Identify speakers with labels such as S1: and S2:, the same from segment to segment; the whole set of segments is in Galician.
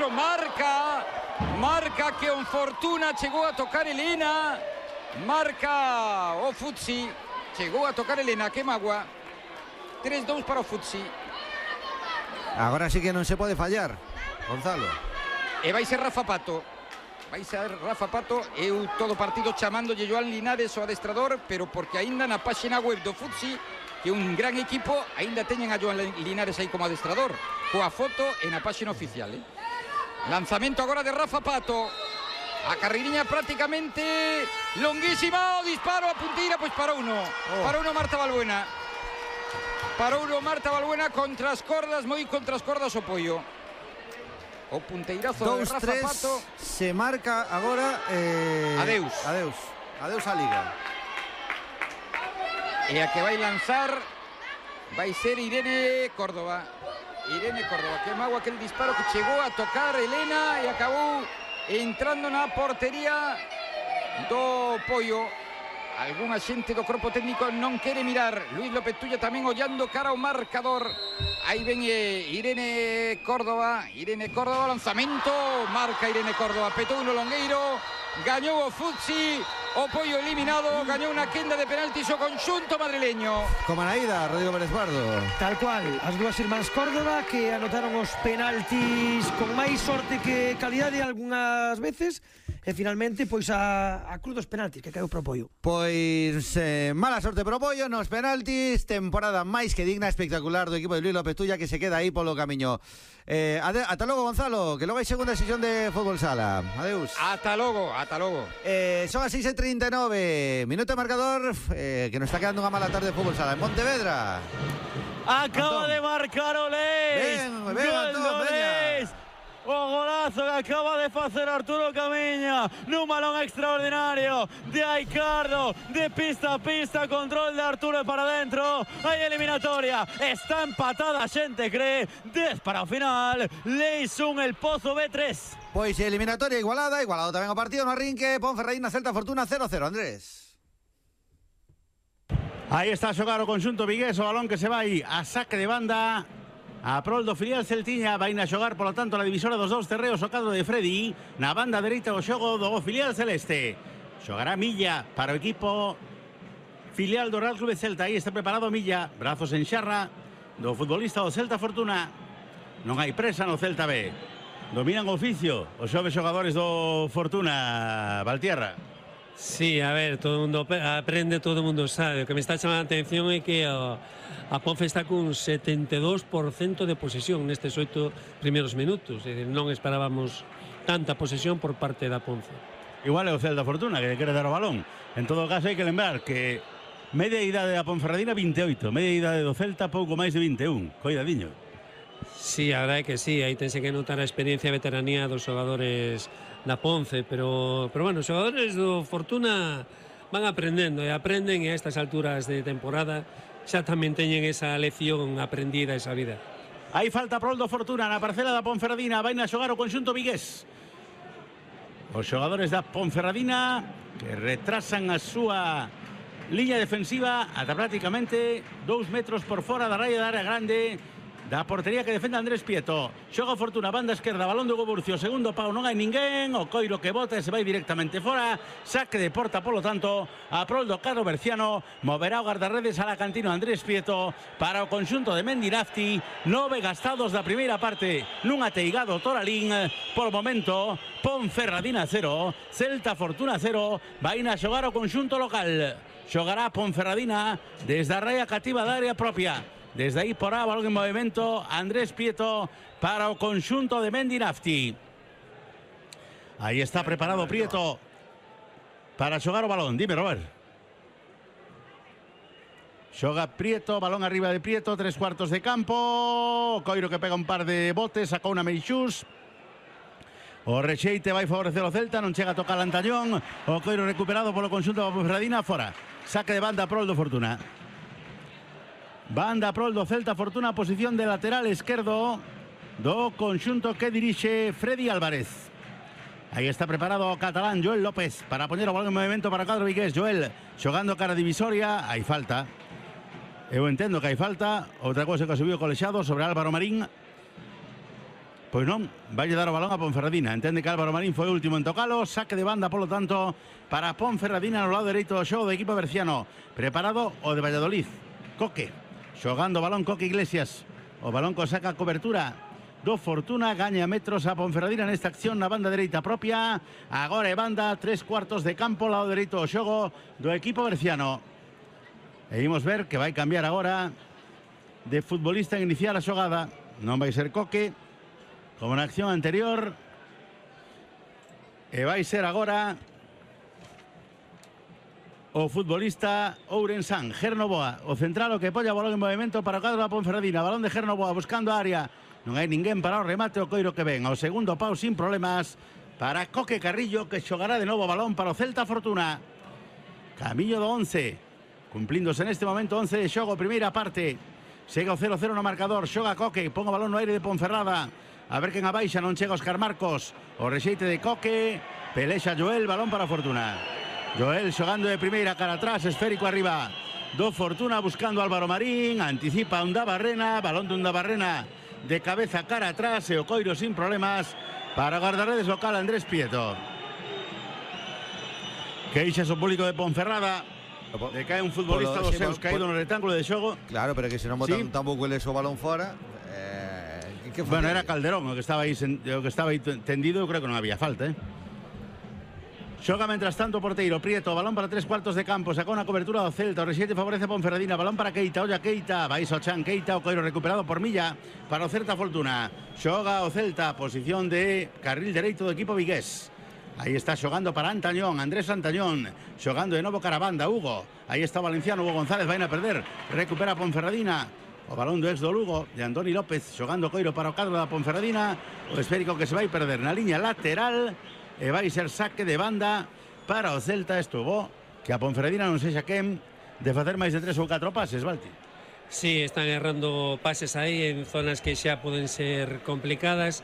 S1: centro, marca que on Fortuna chegou a tocar Elena, marca o Futsi, chegou a tocar Elena, que magua. 3-2 para o Futsi.
S2: Agora sí que non se pode fallar, Gonzalo.
S1: E vai ser Rafa Pato. Eu todo partido chamándolle Joan Linares o adestrador, pero porque aínda na páxina web do Futsi, que é un gran equipo, aínda teñen a Joan Linares aí como adestrador, coa foto e na páxina oficial. Lanzamento agora de Rafa Pato. A carreiriña prácticamente longuísima, o disparo a punteira, pois para uno. Para uno Marta Balbuena. Para uno Marta Balbuena contra as cordas, moi contra as cordas o Pollo. O punteirazo de Rafa Pato.
S2: Se marca agora
S1: Adeus
S2: a Liga.
S1: E a que vai lanzar vai ser Irene Córdoba. Que mago aquel disparo que chegou a tocar Elena e acabou entrando na portería do Pollo. Algún xente do corpo técnico non quere mirar. Luis López Tulla tamén ollando cara ao marcador. Aí ven Irene Córdoba, lanzamento, marca Irene Córdoba, petou no longueiro, gañou o Futsi, o Pollo eliminado, gañou unha quenda de penaltis o conxunto madrileño.
S2: Como na ida, Rodrigo Pérez Pardo.
S3: Tal cual, as dúas irmáns Córdoba que anotaron os penaltis con máis sorte que calidade algunhas veces. E finalmente, pois a cruz dos penaltis que caeu pro Pollo.
S2: Pois mala sorte pro Pollo nos penaltis. Temporada máis que digna, espectacular do equipo de Luis López Tulla, que se queda aí polo camiño. Ata logo, Gonzalo, que logo hai segunda sesión de Fútbol Sala. Adeus.
S1: Ata logo.
S2: Son as 6:39. Minuto de marcador, que nos está quedando unha mala tarde de Fútbol Sala en Pontevedra.
S4: Acaba de marcar Olés.
S2: Ven, Antón, veña.
S4: O golazo que acaba de facer Arturo Camiña nun balón extraordinario de Aicardo, de pista a pista, control de Arturo para dentro. Hai eliminatoria, está empatada, a xente cree. 10 para o final, Leis 1, el Pozo B3.
S2: Pois eliminatoria igualado tamén o partido no arrinque. Ponferradina Celta Fortuna 0-0, Andrés.
S5: Aí está a xogar o conxunto vigués, o balón que se vai a saque de banda a prol do filial Celtiña. Vai a xogar, polo tanto, na divisora dos dous terreos o cadro de Freddy. Na banda dereita o xogo do filial celeste. Xogará Milla para o equipo filial do Real Clube Celta. Aí está preparado Milla, brazos en xarra do futbolista do Celta Fortuna. Non hai presa no Celta B. Dominan o oficio os xoves xogadores do Fortuna, Valtierra.
S6: Sí, a ver, todo o mundo aprende, todo o mundo sabe. O que me está chamando a atención é que a Ponfe está cun 72% de posesión nestes 8 primeiros minutos. É dicir, non esperábamos tanta posesión por parte da Ponfe.
S5: Igual é o Celta Fortuna que quere dar o balón. En todo caso hai que lembrar que media idade da Ponferradina 28, media idade do Celta pouco máis de 21. Coidadiño.
S6: Sí, a verdade é que sí, aí tense que notar a experiencia e veteranía dos xogadores da Ponce, pero bueno, os xogadores do Fortuna van aprendendo e aprenden, e a estas alturas de temporada xa tamén teñen esa lección aprendida, esa vida.
S5: Aí falta prol do Fortuna na parcela da Ponferradina, vai a xogar o conxunto vigués. Os xogadores da Ponferradina que retrasan a súa liña defensiva ata prácticamente 2 metros por fora da raya da área grande da portería que defende Andrés Prieto. Xoga Fortuna, banda esquerda, balón do Goburcio, segundo pau, non hai ninguén, o coiro que bota e se vai directamente fora, saque de porta, polo tanto, a prol do cadro berciano, moverá o guardarredes a la cantina Andrés Prieto para o conxunto de Mendinafti. 9 gastados da primeira parte nun ateigado Toralín. Por momento, Ponferradina 0, Celta Fortuna 0, vai a xogar o conxunto local. Xogará Ponferradina desde a raya cativa da área propia. Desde aí porá balón en movimento Andrés Prieto para o conxunto de Mendinafti. Aí está preparado Prieto para xogar o balón. Dime, Robert. Xoga Prieto, balón arriba de Prieto, 3/4 de campo. Coiro que pega un par de botes, sacou unha Meixús. O rexeite vai favorecer o Celta, non chega a tocar Lantañón. O coiro recuperado polo conxunto da Ponferradina, fora. Saque de banda prol do Fortuna. Banda prol do Celta Fortuna, posición de lateral esquerdo do conxunto que dirixe Freddy Álvarez. Aí está preparado o catalán Joel López para poñer o balón en movimento para o cadro vigués. Joel xogando cara divisoria, hai falta. Eu entendo que hai falta. Outra cousa que subiu colexado sobre Álvaro Marín. pois non, vai dar o balón a Ponferradina. Entende que Álvaro Marín foi o último en tocalo. Saque de banda, polo tanto, para Ponferradina no lado dereito do xogo do equipo berciano. Preparado o de Valladolid. Coque, xogando o balón Coque Iglesias. O balón co saca cobertura do Fortuna, gaña metros a Ponferradina nesta acción na banda dereita propia. Agora é banda, 3/4 de campo, lado dereito do xogo do equipo berciano. E imos ver que vai cambiar agora de futbolista en iniciar a xogada. Non vai ser Coque, como na acción anterior. E vai ser agora o futbolista Ourensán, Gernoboa, o central, o que polla balón en movimento para o cadro da Ponferradina. Balón de Gernoboa buscando a área. Non hai ninguén para o remate, o coiro que ven. Ao segundo pau sin problemas para Coque Carrillo, que xogará de novo balón para o Celta Fortuna. Camiño do 11, cumplíndose neste momento 11 de xogo, primeira parte. Chega o 0-0 no marcador, xoga Coque, pon o balón no aire de Ponferrada. A ver quen abaixa, non chega Óscar Marcos. O rexeite de Coque, pelexa Joel, balón para Fortuna. Joel xogando de primeira, cara atrás, esférico arriba do Fortuna, buscando Álvaro Marín, anticipa Undabarrena, balón de Undabarrena de cabeza cara atrás, e o coiro sin problemas para o guardarredes local Andrés Prieto. Queixa o público de Ponferrada de que hai un futbolista dos seus caído no rectángulo de xogo.
S2: Claro, pero que se non botan tampouco eles o balón fora.
S5: Bueno, era Calderón o que estaba aí tendido, eu creo que non había falta, Xoga mentras tanto o porteiro Prieto, balón para 3/4 de campo, sacou na cobertura do Celta, o rexeite favorece a Ponferradina, balón para Keita, olla Keita, vai Sochan Keita, o coiro recuperado por Milla para o Celta Fortuna. Xoga o Celta, posición de carril dereito do equipo vigués. Aí está xogando para Antañón, Andrés Antañón, xogando de novo cara a banda, Hugo. Aí está o valenciano, Hugo González, vai a perder, recupera Ponferradina. O balón do ex do Lugo, de Andoni López, xogando coiro para o cadro da Ponferradina. O esférico que se vai perder na liña lateral. E vai ser saque de banda para o Celta. Estuvo que a Ponferradina non sexa quen de facer máis de 3 ou 4 pases, Valti.
S6: Sí, están errando pases aí en zonas que xa poden ser complicadas.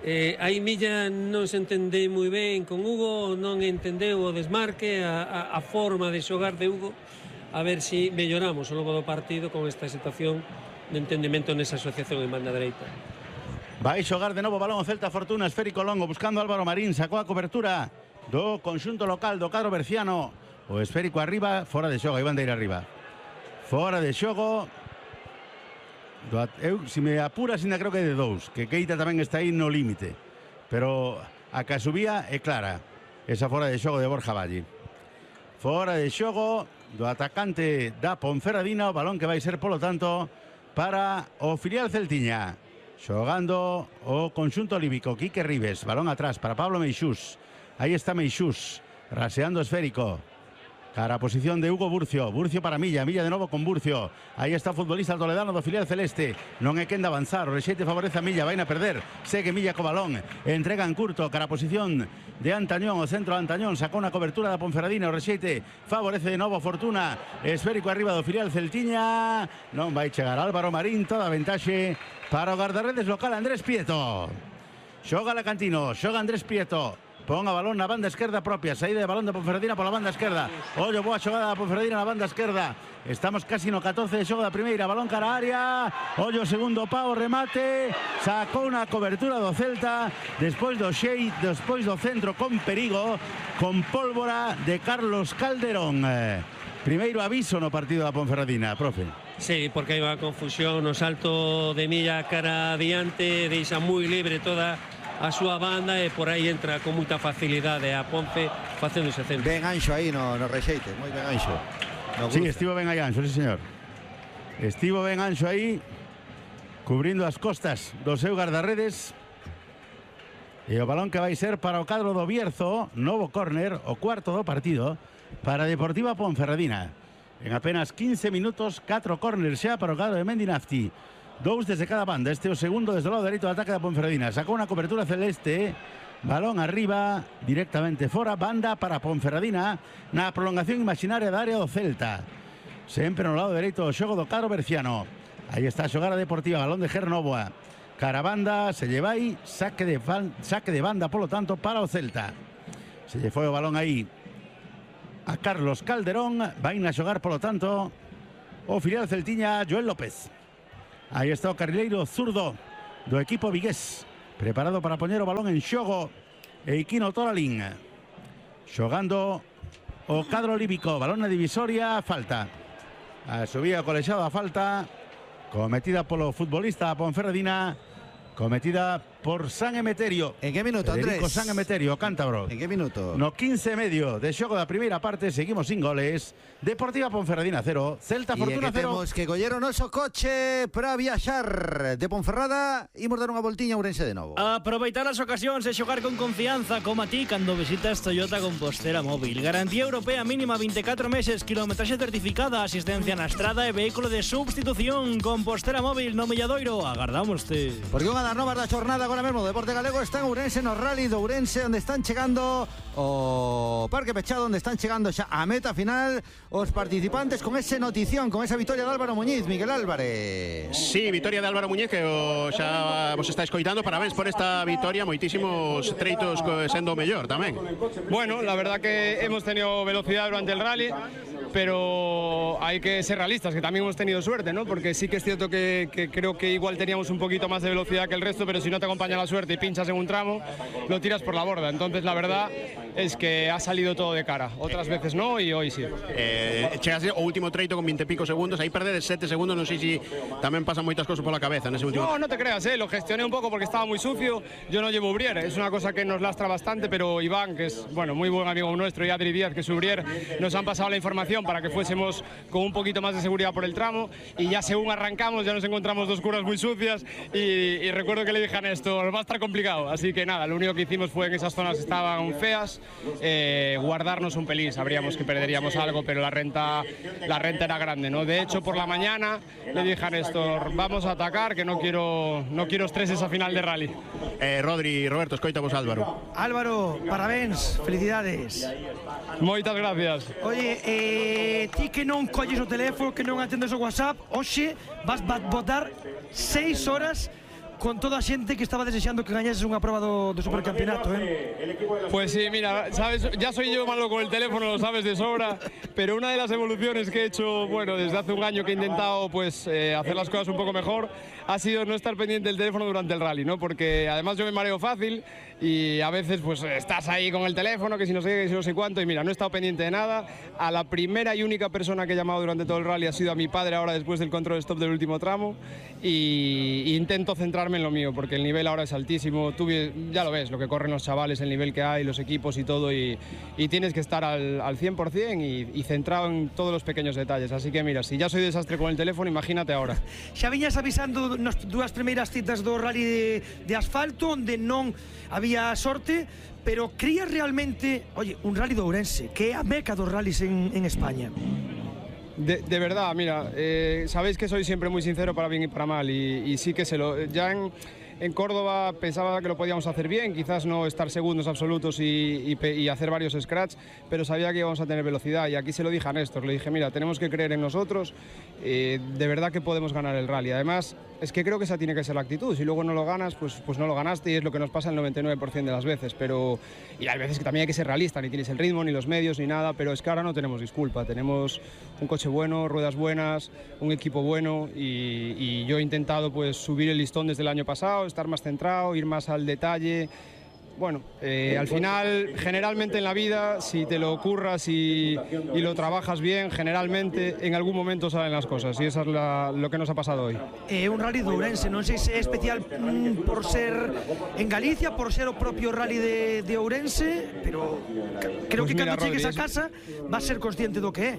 S6: Aí Milla non se entende moi ben con Hugo, non entendeu o desmarque, a forma de xogar de Hugo. A ver se melloramos ao longo do partido con esta situación de entendimento nesa asociación en banda dereita.
S5: Vai xogar de novo balón o Celta Fortuna, esférico longo, buscando Álvaro Marín, sacou a cobertura do conxunto local do cadro berciano. O esférico arriba, fora de xogo, aí van de ir arriba. Fora de xogo. Eu, se me apuras, ainda creo que é de 2, que Keita tamén está aí no límite. Pero a que subía é clara, esa fora de xogo de Borja Valle. Fora de xogo do atacante da Ponferradina, o balón que vai ser, polo tanto, para o filial celtiña. Xogando o conxunto olímpico, Quique Ribes, balón atrás para Pablo Meixús. Aí está Meixús, raseando esférico. Cara a posición de Hugo Burcio. Burcio para Milla, Milla de novo con Burcio. Aí está o futbolista toledano do filial celeste. Non é quen de avanzar, o rexeite favorece a Milla, vai a perder. Segue Milla co balón, entrega en curto, cara a posición de Antañón, o centro de Antañón, sacou na cobertura da Ponferradina, o rexeite favorece de novo Fortuna. Esférico arriba do filial celtiña. Non vai chegar Álvaro Marín, toda a ventaxe para o guardarredes local Andrés Prieto. Xoga Lacantino, xoga Andrés Prieto. Pon a balón na banda esquerda propia, saída de balón de Ponferradina pola banda esquerda. Ollo, boa xogada da Ponferradina na banda esquerda. Estamos casi no 14 de xogo da primeira, balón cara a área. Ollo, segundo pau, remate. Sacou na cobertura do Celta despois do centro con perigo, con pólvora de Carlos Calderón. Primeiro aviso no partido da Ponferradina, profe.
S6: Sí, porque hai unha confusión no salto de Milla cara adiante, deixa moi libre toda a súa banda e por aí entra con moita facilidade a Ponce facendo ese centro.
S2: Ben Anxo aí no rexeite, moi ben Anxo.
S5: Sí, estivo ben aí Anxo, sí señor. Estivo ben Anxo aí, cubrindo as costas do seu guardarredes. E o balón que vai ser para o cadro do Bierzo, novo córner, o cuarto do partido, para Deportiva Ponferradina. En apenas 15 minutos, 4 córners xa para o cadro de Mendinafti. 2 desde cada banda, este é o segundo desde o lado dereito do ataque da Ponferradina. Sacou unha cobertura celeste, balón arriba, directamente fora, banda para Ponferradina, na prolongación imaginaria da área do Celta. Sempre no lado dereito do xogo do cadro berciano. Aí está a xogar a Deportiva, balón de Gernoboa. Cara banda, se lle vai, saque de banda, polo tanto, para o Celta. Se lle foi o balón aí a Carlos Calderón, vai a xogar, polo tanto, o filial celtiña Joel López. Aí está o carrileiro zurdo do equipo vigués, preparado para poñer o balón en xogo Eiquino Toralín, xogando o cadro líbico, balón na divisoria, falta. A subía colexada a falta cometida polo futbolista Ponferradina, cometida por San Emeterio.
S2: En que minuto, Andrés?
S5: Federico San Emeterio, cántabro.
S2: En que minuto?
S5: No 15 e medio de xogo da primeira parte, seguimos sin goles. Deportiva Ponferradina 0, Celta Fortuna 0.
S2: Temos que coller o noso coche para viaxar de Ponferrada. Imos dar unha voltiña a Ourense de novo.
S7: Aproveitar as ocasións e xogar con confianza como a ti cando visitas Toyota Compostela Móvil. Garantía europea mínima 24 meses, kilometraxe certificada, asistencia na estrada e vehículo de substitución. Compostela Móvil no Milladoiro, agardámoste.
S2: Porque unha das novas da xornada agora mesmo o Deporte Galego está en Ourense, no Rally de Ourense, onde están chegando o Parque Pechado, onde están chegando xa a meta final os participantes con ese notición, con esa victoria de Álvaro Muñiz. Miguel Álvarez.
S8: Sí, victoria de Álvaro Muñiz, que xa vos está escoitando. Parabéns por esta victoria, moitísimos treitos sendo o mellor tamén.
S9: Bueno, la verdad que hemos tenido velocidad durante el rally, pero hay que ser realistas, que también hemos tenido suerte, ¿no? Porque sí que es cierto que creo que igual teníamos un poquito más de velocidad que el resto, pero si no te acompaña la suerte y pinchas en un tramo, lo tiras por la borda. Entonces la verdad es que ha salido todo de cara. Otras veces no y hoy sí.
S8: Chegas o último treito con 20 e pico segundos, aí perdedes 7 segundos, non sei se tamén pasan moitas cosas pola cabeza nese último.
S9: No te creas, lo gestioné un poco porque estaba muy sucio. Yo no llevo Ubrier, es una cosa que nos lastra bastante, pero Iván, que es bueno, muy buen amigo nuestro, y Adri Díaz, que es Ubrier, nos han pasado la información para que fuésemos con un poquito más de seguridad por el tramo, y ya según arrancamos ya nos encontramos dos curvas muy sucias y recuerdo que le dije a Néstor, va a estar complicado, así que nada, lo único que hicimos fue en esas zonas que estaban feas, guardarnos un pelín. Sabríamos que perderíamos algo, pero la renta era grande, ¿no? De hecho, por la mañana le dije a Néstor, vamos a atacar, que no quiero estreses a final de rally.
S8: Rodri, Roberto, escoita vos Álvaro.
S3: Álvaro, parabéns, felicidades.
S9: Moitas gracias.
S3: Oye, ti que non colles o teléfono, que non atendes o WhatsApp, hoxe vas botar 6 horas con toda a xente que estaba desexando que gañases unha proba do supercampeonato,
S9: Pues sí, mira, sabes, ya soy yo malo con el teléfono, lo sabes de sobra, pero una de las evoluciones que he hecho, bueno, desde hace un año que he intentado pues hacer las cosas un poco mejor, ha sido no estar pendiente del teléfono durante el rally, ¿no? Porque además yo me mareo fácil y a veces pues estás ahí con el teléfono, que si no sé qué, que si no sé cuánto, y mira, no he estado pendiente de nada. A la primera y única persona que he llamado durante todo el rally ha sido a mi padre ahora después del control stop del último tramo, y intento centrarme en lo mío, porque el nivel ahora es altísimo. Tú ya lo ves, lo que corren los chavales, el nivel que hay, los equipos y todo, y tienes que estar al 100% y centrado en todos los pequeños detalles. Así que mira, si ya soy desastre con el teléfono, imagínate ahora.
S3: Xa viñas avisando nas dúas primeiras citas do rally de asfalto, onde non había sorte, pero crías realmente, oye, un rally de Ourense, que é a meca dos rallies en España.
S9: De verdad, mira, sabéis que soy siempre muy sincero para bien y para mal, y sí que ya en Córdoba pensaba que lo podíamos hacer bien, quizás no estar segundos absolutos y hacer varios scratch, pero sabía que íbamos a tener velocidad, y aquí se lo dije a Néstor, le dije, mira, tenemos que creer en nosotros, de verdad que podemos ganar el rally. Además, es que creo que esa tiene que ser la actitud. Si luego no lo ganas, pues no lo ganaste, y es lo que nos pasa el 99% de las veces. Y hay veces que también hay que ser realista, ni tienes el ritmo, ni los medios, ni nada, pero es que ahora no tenemos disculpa. Tenemos un coche bueno, ruedas buenas, un equipo bueno, y yo he intentado pues subir el listón desde el año pasado, estar más centrado, ir más al detalle. Bueno, al final, generalmente en la vida, si te lo curras y lo trabajas bien, generalmente en algún momento salen las cosas, y eso es lo que nos ha pasado hoy.
S3: Un rally de Ourense, non sei se é especial por ser en Galicia, por ser o propio rally de Ourense, pero creo
S9: pues
S3: que
S9: mira,
S3: cando chegues
S9: Rodri,
S3: a casa vas a ser consciente do que é.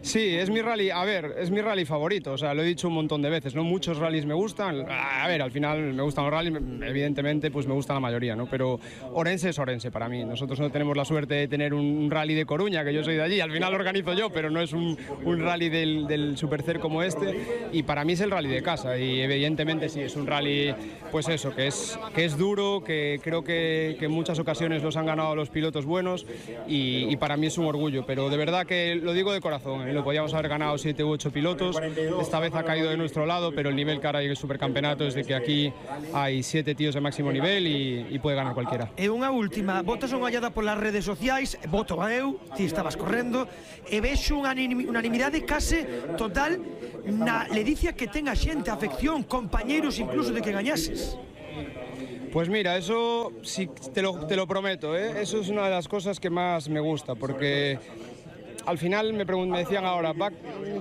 S9: Sí, es mi rally, a ver, es mi rally favorito, o sea, lo he dicho un montón de veces, ¿no? Muchos rallies me gustan, a ver, al final me gustan los rallies, evidentemente pues me gusta la mayoría, ¿no? Pero Ourense es Ourense para mí. Nosotros no tenemos la suerte de tener un rally de Coruña, que yo soy de allí, al final lo organizo yo, pero no es un rally del Supercer como este, y para mí es el rally de casa, y evidentemente sí, es un rally, pues eso, que es duro, que creo que en muchas ocasiones los han ganado los pilotos buenos, y para mí es un orgullo, pero de verdad que lo digo de corazón, lo podíamos haber ganado 7 u 8 pilotos, esta vez ha caído de nuestro lado, pero el nivel que ahora hay en el supercampeonato es de que aquí hay 7 tíos de máximo nivel y puede ganar cualquiera.
S3: E unha última, botas unha ollada polas redes sociais, voto a eu, ti estabas correndo, e vexo unha unanimidade case total na ledicia que ten a xente, a afección, compañeiros incluso de que gañases.
S9: Pues mira, eso sí te lo prometo, ¿eh? Eso es una de las cosas que más me gusta, porque al final me decían ahora,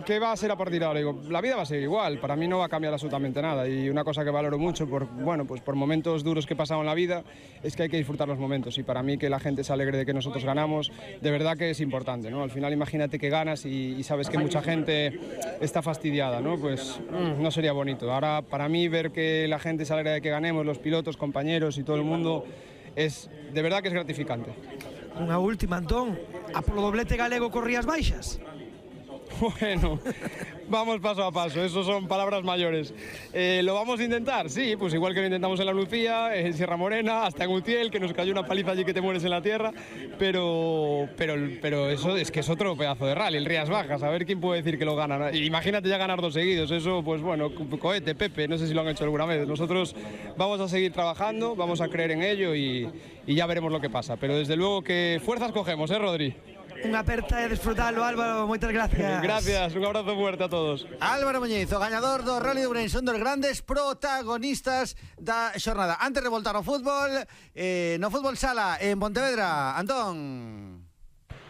S9: ¿qué va a ser a partir de ahora? Digo, la vida va a ser igual, para mí no va a cambiar absolutamente nada, y una cosa que valoro mucho por momentos duros que he pasado en la vida es que hay que disfrutar los momentos, y para mí que la gente se alegre de que nosotros ganamos, de verdad que es importante, ¿no? Al final imagínate que ganas y sabes que mucha gente está fastidiada, ¿no? Pues no sería bonito. Ahora para mí ver que la gente se alegra de que ganemos, los pilotos, compañeros y todo el mundo, es de verdad que es gratificante.
S3: Unha última, Antón, a polo doblete galego corrías baixas?
S9: Bueno, vamos paso a paso, eso son palabras mayores. ¿Lo vamos a intentar? Sí, pues igual que lo intentamos en la Lucía, en Sierra Morena, hasta en Utiel, que nos cayó una paliza allí que te mueres en la tierra, pero eso es que es otro pedazo de rally, el Rías Bajas, a ver quién puede decir que lo gana. Imagínate ya ganar 2 seguidos, eso pues bueno, cohete, Pepe, no sé si lo han hecho alguna vez. Nosotros vamos a seguir trabajando, vamos a creer en ello y ya veremos lo que pasa, pero desde luego que fuerzas cogemos, Rodri?
S3: Unha aperta e desfrutalo, Álvaro, moitas gracias.
S9: Gracias, un abrazo fuerte a todos.
S2: Álvaro Muñiz, o gañador do Rally de Ourense, un dos grandes protagonistas da xornada. Antes de voltar ao fútbol, no fútbol sala en Pontevedra, Antón.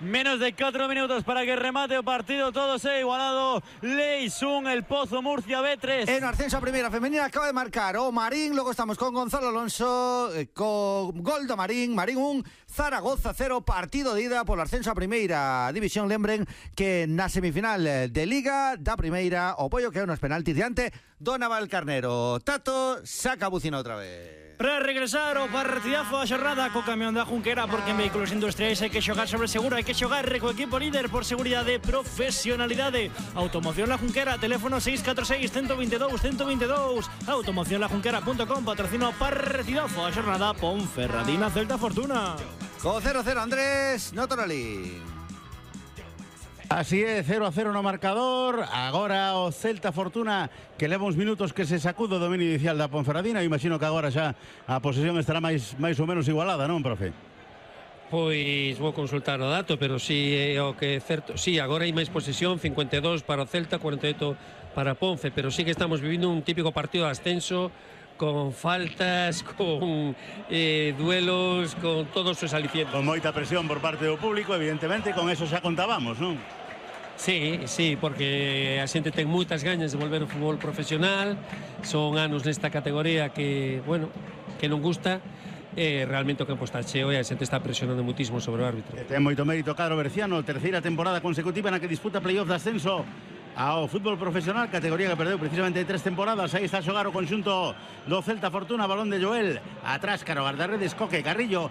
S4: Menos de 4 minutos para que remate o partido, todo se ha igualado. Leisún, el Pozo, Murcia, B3.
S2: En ascenso a primeira femenina acaba de marcar o Marín, logo estamos con Gonzalo Alonso, con gol do Marín 1, Zaragoza 0, partido de ida polo ascenso a primeira división. Lembren que na semifinal de Liga da primeira o Pollo que é unos penaltis diante do Navalcarnero. Tato saca a bucina outra vez.
S7: Para regresar o partidazo da xornada co camión da Junquera, porque en vehículos industriais hai que xogar sobre seguro, hai que xogar co equipo líder por seguridade e profesionalidade. Automoción La Junquera, teléfono 646 122 122. Automocionlajunquera.com, patrocina o partidazo da xornada Ponferradina Celta Fortuna.
S2: Co 0-0 Andrés Notorali.
S5: Así é, 0-0 no marcador. Agora o Celta Fortuna, que leva uns minutos que se sacudo o dominio inicial da Ponferradina. Imagino que agora xa a posesión estará máis ou menos igualada, non, profe?
S6: Pois vou consultar o dato, pero si é o que é certo. Si, agora hai máis posesión, 52 para o Celta, 48 para Ponfe, pero sí que estamos vivindo un típico partido de ascenso, con faltas, con duelos, con todos os alicientes.
S5: Con moita presión por parte do público, evidentemente, con eso xa contábamos, non?
S6: Sí, porque a xente ten moitas gañas de volver ao fútbol profesional. Son anos nesta categoría que, bueno, que non gusta. Realmente o campo está cheo e a xente está presionando muitísimo sobre o árbitro.
S5: Ten moito mérito Cadro Berciano, terceira temporada consecutiva na que disputa playoff de ascenso ao fútbol profesional, categoría que perdeu precisamente 3 temporadas. Aí está a xogar o conxunto do Celta Fortuna, balón de Joel, atrás cara o guardarredes Coque, Carrillo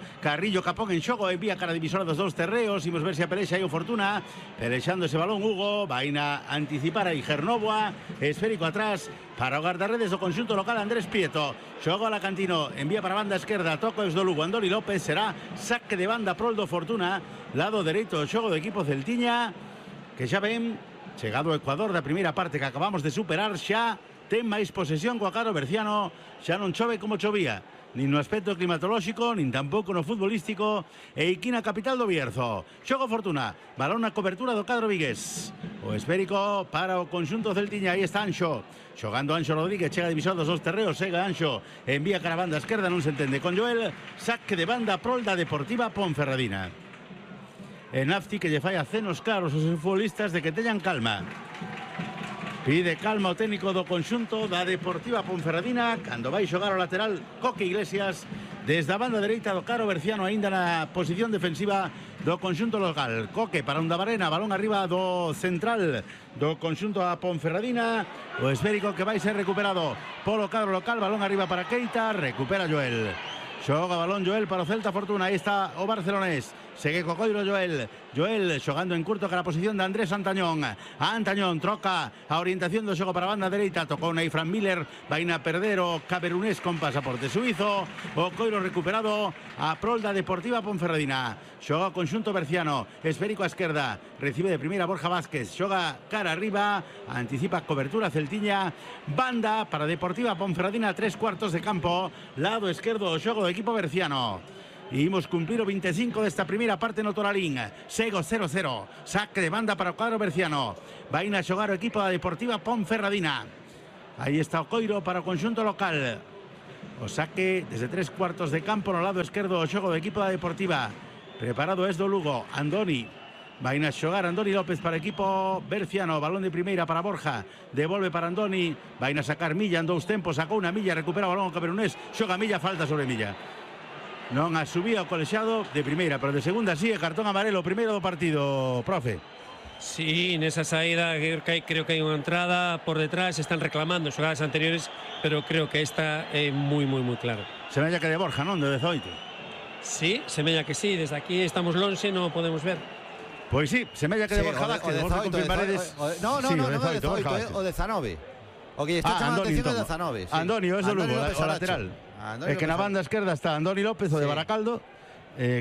S5: capón en xogo, envía cara a divisora dos 2 terreos. Imos ver se apelexa aí o Fortuna, pelexando ese balón Hugo, vaina anticipar aí Gernovoa, esférico atrás para o guardarredes do conxunto local Andrés Prieto, xogo a la Cantino, envía para a banda esquerda, toco es do Lugo, Andoni López, será saque de banda prol do Fortuna, lado dereito, xogo do equipo celtiña, que xa ven, chegado ao Ecuador da primeira parte que acabamos de superar, xa ten máis posesión coa Caro Berciano, xa non chove como chovía, nin no aspecto climatolóxico, nin tampouco no futbolístico, e aquí na capital do Bierzo. Xogo Fortuna, balón na cobertura do cadro vigués. O esférico para o conxunto celtiña, aí está Anxo. Xogando Anxo Rodríguez, chega divisor dos 2 terreos, chega Anxo, envía cara a banda esquerda, non se entende con Joel, saque de banda prol da Deportiva Ponferradina. En Nafti que lle fai acenos claros aos futbolistas de que teñan calma. Pide calma o técnico do conxunto da Deportiva Ponferradina cando vai xogar o lateral Coque Iglesias desde a banda dereita do Caro Berciano, aínda na posición defensiva do conxunto local. Coque para Undabarena, balón arriba do central do conxunto a Ponferradina, o esférico que vai ser recuperado polo cadro local, balón arriba para Keita, recupera Joel. Xoga balón Joel para o Celta Fortuna, aí está o barcelonés, segue co coiro Joel xogando en curto cara a posición de Andrés Antañón. Antañón troca a orientación do xogo para a banda dereita, tocou na Fran Miller, vai na perder o camerunés con pasaporte suizo, o coiro recuperado a prol da Deportiva Ponferradina. Xoga o conxunto berciano, esférico a esquerda, recibe de primeira Borja Vázquez, xoga cara arriba, anticipa cobertura celtiña, banda para Deportiva Ponferradina, 3/4 de campo, lado esquerdo o xogo do equipo berciano. E imos cumplir o 25 desta primeira parte no Toralín. Sego 0-0, saque de banda para o cuadro berciano, vai a xogar o equipo da Deportiva Ponferradina. Aí está o coiro para o conxunto local. O saque desde 3/4 de campo no lado esquerdo o xogo do equipo da Deportiva. Preparado es do Lugo. Andoni. Vai a xogar Andoni López para equipo berciano. Balón de primeira para Borja. Devolve para Andoni. Vai a sacar Milla en 2 tempos. Sacou unha Milla. Recupera o balón o camerunés. Xoga Milla. Falta sobre Milla. Non a subía o colexiado de primeira, pero de segunda sí. Cartón amarelo. Primeiro do partido, profe.
S6: Sí, nesa saída creo que hai unha entrada por detrás, están reclamando xogadas anteriores, pero creo que esta é moi clara.
S5: Semella que de Borja, non? De 18.
S6: Sí, semella que sí, desde aquí estamos lonxe, non podemos ver.
S5: Pois sí, semella que de Borja Vázquez, vos confirmaredes.
S2: No, o 19. O que está chamando a atención é 19.
S5: Andoni, o Lugo, o lateral. É que na banda esquerda está Andoni López, o de Baracaldo,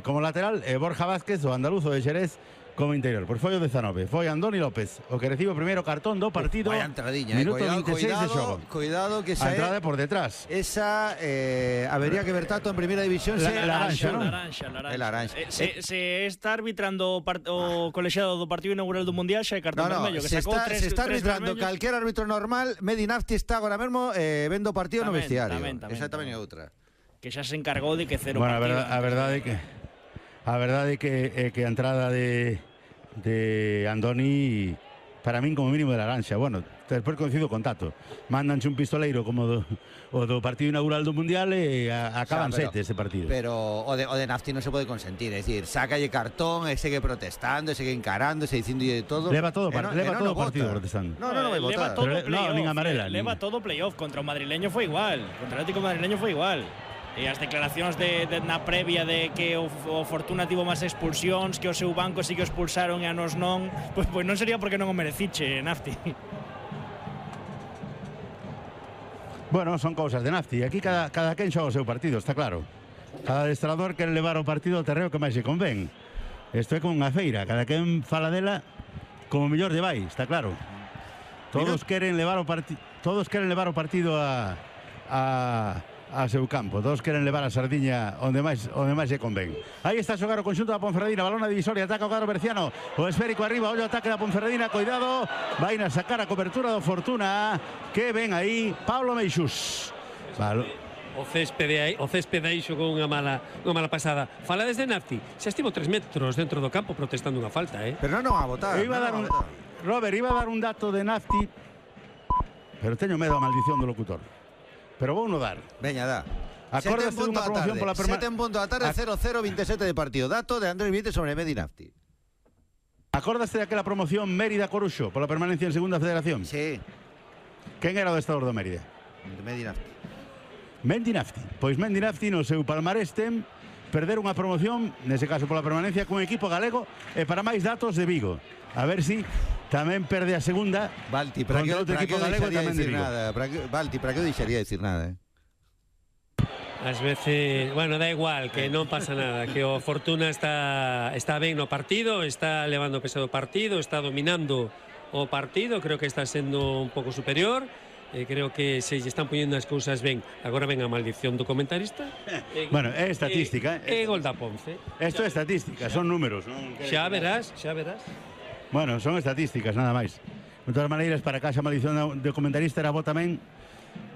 S5: como lateral, e Borja Vázquez, o andaluzo de Xerez, como interior. Por foi o 19. Foi Andoni López o que recibe o primeiro cartón do partido.
S2: Vaya entradinha,
S5: minuto 26 de xogo.
S2: Cuidado que
S5: a entrada por detrás.
S2: Esa habería que ver tanto en Primera División.
S7: Laranxa.
S2: Se
S7: está arbitrando o colexiado do partido inaugural do Mundial, xa é cartón vermello.
S2: Se está arbitrando calquer árbitro normal. Medi Nafti está agora mesmo vendo o partido no vestiario. Esa tamén é outra.
S7: Que xa se encargou de que cero
S5: partido.
S7: Bueno,
S5: a verdade é que a verdade é que a entrada de Andoni para min como mínimo de Laranxa. Bueno, despois coincido con Tato. Mándanse un pistoleiro como o do partido inaugural do Mundial e acaban 7 ese partido.
S2: Pero o de Nafti non se pode consentir, é dicir, sácalle cartón, e segue protestando, e segue encarando, e dicindo de todo.
S5: Leva todo o partido protestando.
S2: No vai votar.
S5: Nin amarela.
S7: Leva todo o playoff. Contra o madrileño foi igual. Contra o Atlético madrileño foi igual. E as declaracións na previa de que o Fortuna tivo máis expulsións, que o seu banco sí que o expulsaron e a nos non, pois non sería porque non o mereciche, Nafti.
S5: Bueno, son cousas de Nafti. Aquí cada quen xoga o seu partido, está claro. Cada adestrador quere levar o partido ao terreo que máis se convén. Isto é como unha feira, cada quen fala dela como mellor lle vai, está claro. Todos queren levar o partido a seu campo. Todos queren levar a sardiña onde máis se convén. Aí está a xogar o conxunto da Ponferradina. Balón a divisoria, ataca o cadro berciano. O esférico arriba, ollo ataque da Ponferradina. Cuidado, vai a sacar a cobertura do Fortuna. Que ven aí Pablo Meixús.
S6: O céspede aí xogou unha mala pasada. Fala desde Nafti. Xa estivo 3 metros dentro do campo protestando unha falta,
S2: Pero non a votar.
S5: Robert, iba a dar un dato de Nafti, pero teño medo a maldición do locutor. Pero vou no dar.
S2: Veña, da.
S5: Acórdase dunha promoción pola permanencia.
S2: 7 en punto da tarde, 0-0-27 de partido. Dato de Andrés Vites sobre Medi Nafti.
S5: Acórdase daquela promoción Mérida-Coruxo pola permanencia en Segunda Federación?
S2: Sí.
S5: Quen era o adestrador do Mérida?
S2: Medi Nafti.
S5: Mendi Nafti. Pois Mendi Nafti no seu palmarés ten perder unha promoción, nese caso pola permanencia, cun equipo galego e para máis datos de Vigo. A ver si tamén perde a segunda.
S2: Balti, para que outro equipo galego tamén de Vigo. Balti, para que deixaría decir nada,
S6: Ás veces, bueno, da igual, que non pasa nada, que o Fortuna está ben no partido, está levando o peso do partido, está dominando o partido, creo que está sendo un pouco superior. Creo que se lle están poñendo as cousas ben. Agora ven a maldición do comentarista.
S5: Bueno, é estadística.
S6: É gol da Ponce.
S5: Isto é estadística, son números.
S6: Xa verás.
S5: Bueno, son estadísticas, nada máis. De todas maneiras, para que haxa maldición do comentarista era bo tamén,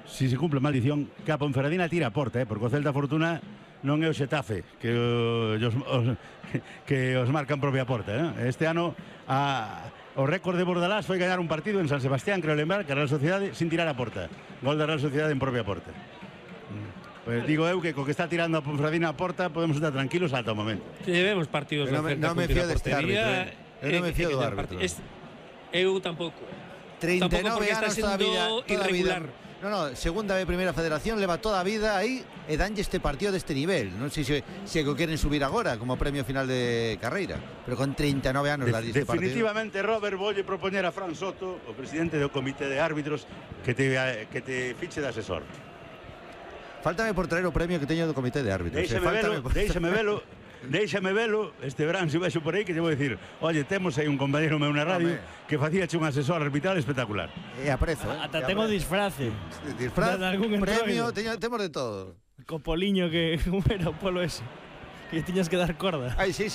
S5: si se cumple maldición, que a Ponferradina tira a porta, porque o Celta Fortuna non é o Xetafe, que os marcan propia porta. Este ano o récord de Bordalás foi gañar un partido en San Sebastián, creo lembrar, que a Real Sociedade sin tirar a porta. Gol da Real Sociedade en propia porta. Pues digo eu que co que está tirando a Ponferradina a porta podemos estar tranquilos ata o momento.
S6: Vemos partidos do Celta
S2: non me fío deste árbitro. Eu non me fío do árbitro.
S6: Eu tampouco.
S2: 39 anos
S6: todavía irregular.
S2: No, segunda B Primeira Federación leva toda a vida aí e danlle este partido deste nivel. Non sei se o queren subir agora como premio final de carreira, pero con 39 anos darlle este partido.
S5: Definitivamente, Robert, voulle propoñer a Fran Soto, o presidente do comité de árbitros, que te fiche de asesor.
S2: Fáltame por traer o premio que teño do comité de árbitros.
S5: Déixame velo este verán, se vexo por aí, que te vou dicir, oye, temos aí un compañero meu na radio que facíache un asesor arbitral espectacular.
S2: E aprezo,
S7: Ata tengo disfrace.
S2: Disfraz, premio, temos de todo.
S7: Co poliño que era o polo ese, que tiñas que dar corda.
S2: Ai, sí.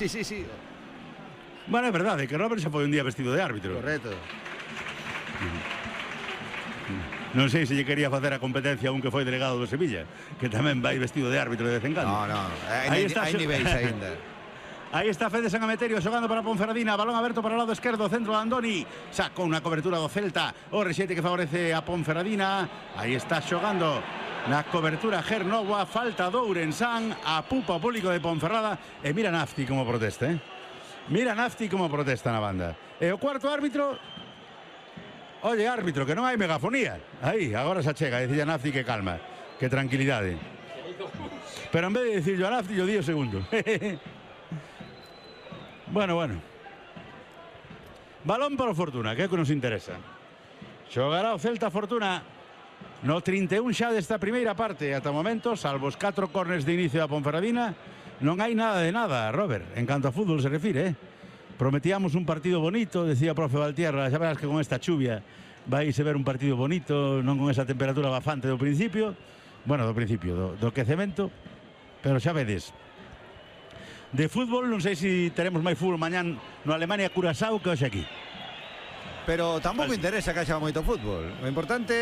S5: Bueno, é verdade, que Robert xa foi un día vestido de árbitro.
S2: Correcto.
S5: Non sei se lle quería facer a competencia a un que foi delegado do Sevilla, que tamén vai vestido de árbitro de vez en cando.
S2: Hai niveis aínda.
S5: Aí está Fede San Emeterio xogando para Ponferradina, balón aberto para o lado esquerdo, centro de Andoni, sacou unha cobertura do Celta, o rexete que favorece a Ponferradina. Aí está xogando na cobertura Gernoa, falta do Ourensán, a pupa o público de Ponferrada, e mira Nafti como protesta, Mira Nafti como protesta na banda. E o cuarto árbitro, oye, árbitro, que non hai megafonía. Aí, agora se achega, dicía Nafti que calma, que tranquilidade. Pero en vez de dicirlo a Nafti, yo di o segundo. Bueno. Balón para o Fortuna, que é o que nos interesa. Xogará o Celta Fortuna no 31 xa desta primeira parte. Ata o momento, salvo os 4 corners de inicio da Ponferradina, non hai nada de nada, Robert, en canto a fútbol se refire. Prometíamos un partido bonito, decía o profe Valtierra, xa verás que con esta chuvia vais a ver un partido bonito, non con esa temperatura bafante do principio. Bueno, do principio, do quecemento, pero xa vedes. De fútbol, non sei se teremos máis fútbol mañán no Alemania-Curaçao que hoxe aquí.
S2: Pero tampouco interesa que haxa moito fútbol. O importante,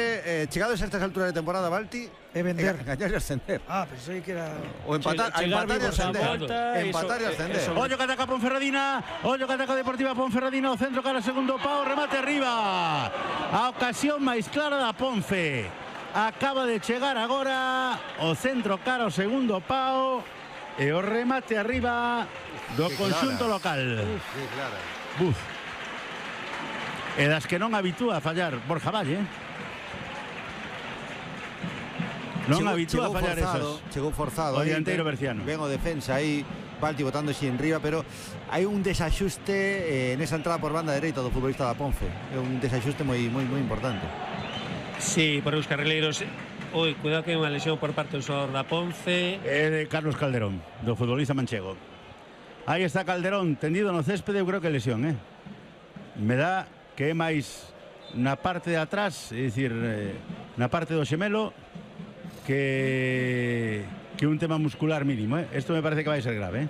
S2: chegados a estas alturas de temporada, Balti,
S3: é vender.
S2: Gañar e ascender.
S3: Pensei que era...
S2: O empatar e ascender. Empatar e ascender.
S5: Ollo que ataca Ponferradina, ollo que ataca Deportiva Ponferradina, o centro cara segundo pau, remate arriba. A ocasión máis clara da Ponfe. Acaba de chegar agora o centro cara o segundo pau. E o remate arriba do conxunto local.
S2: Que clara.
S5: E das que non habitúa a fallar Borja Valle. Non habitúa a fallar esas.
S2: Chegou forzado.
S5: O dianteiro berciano.
S2: Ven o defensa aí, Balti botándose en riba, pero hai un desaxuste nesa entrada por banda dereita do futbolista da Ponfe. É un desaxuste moi importante.
S6: Sí, por os carrileiros. Oi, cuidado que hai unha lesión por parte do xogador da Ponce.
S5: É de Carlos Calderón, do futbolista manchego. Aí está Calderón, tendido no céspede, eu creo que lesión, Me dá que é máis na parte de atrás, é dicir, na parte do xemelo, que un tema muscular mínimo, Isto me parece que vai ser grave,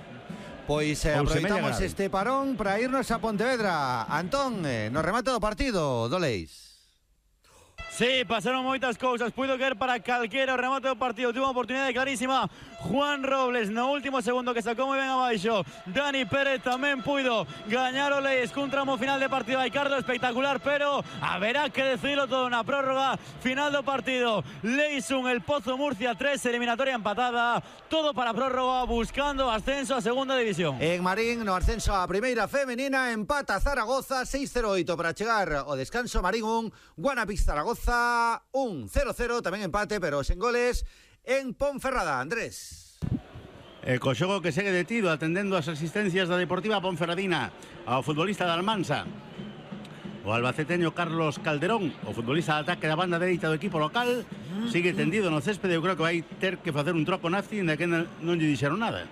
S2: Pois aproveitamos este parón para irnos a Pontevedra. Antón, no remate do partido, do Leis.
S4: Sí, pasaron moitas cousas, puido caer para calquera o remate do partido, tuvo unha oportunidade clarísima Juan Robles no último segundo que sacou moi ben abaixo. Dani Pérez tamén puido gañar o Leis cun tramo final de partido. Aicardo espectacular, pero haberá que decidirlo todo na prórroga final do partido. Leis 1, el Pozo Murcia 3, eliminatoria empatada, todo para prórroga, buscando ascenso a segunda división.
S2: En Marín, no ascenso a primeira femenina, empata Zaragoza 6-0-8 para chegar ao descanso. Marín 1, Guanapix Zaragoza 1-0-0, tamén empate, pero sen goles en Ponferrada. Andrés.
S5: Co xogo que segue detido, atendendo as asistencias da Deportiva Ponferradina ao futbolista da Almansa, o albaceteño Carlos Calderón, o futbolista de ataque da banda dereita do equipo local, sigue tendido no céspede. Eu creo que vai ter que facer un troco Nafti, ainda que non lle dixeron nada.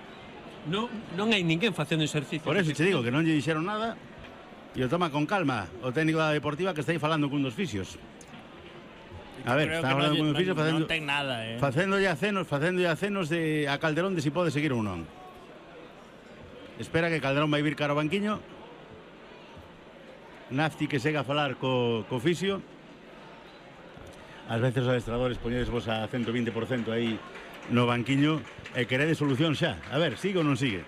S6: Non hai ninguén facendo exercicio.
S5: Por eso te digo que non lle dixeron nada, e o toma con calma o técnico da Deportiva, que está aí falando cun dos fisios. A ver, está hablando con un fixo facéndolle acenos a Calderón de si pode seguir ou non. Espera que Calderón vai vir cara ao banquiño. Nafti que segue a falar co fixio. Ás veces os adestradores poñedes vos a 120% aí no banquiño e queredes solución xa. A ver, sigue ou non sigue?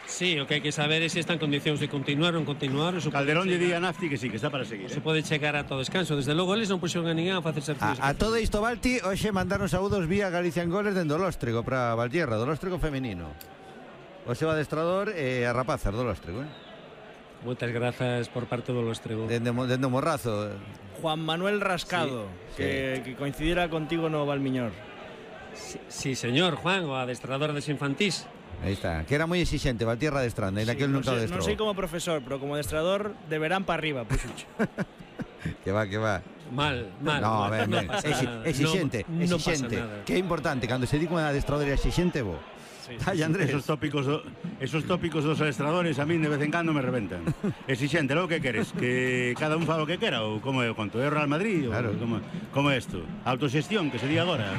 S6: Sí, o que hai que saber é se está en condicións de continuar ou non continuar.
S5: Calderón lle di a Nafti que sí, que está para seguir.
S6: Se pode chegar a todo descanso. Desde logo, eles non puxeron a ninguén a facer exercicios.
S2: A todo isto, Balti, hoxe mandaron saúdos vía Galicia en Goles dende o Lóstrego para Valtierra, do Lóstrego femenino. O seu adestrador e a rapazas do Lóstrego,
S6: Moitas grazas por parte do Lóstrego.
S2: Dende o Morrazo.
S7: Juan Manuel Rascado, que coincidira contigo no Valmiñor.
S6: Sí, señor, Juan, o adestrador des infantís.
S2: Aí está, que era moi exixente, Valtierra adestrando, en aquel nunca adestrou.
S7: Non sei como profesor, pero como adestrador de verán para arriba, puxucho.
S2: Que va.
S6: Mal.
S2: No, ben. Exixente.
S6: No pasa nada.
S2: Que é importante, cando se di con adestrador exixente, bo. Ai, Andrés.
S5: Esos tópicos dos adestradores a min de vez en cando me reventan. Exixente, logo que queres? Que cada un fa o que quera? Ou como é o conto? É o Real Madrid?
S2: Claro.
S5: Como é isto? Autoxestión, que se di agora.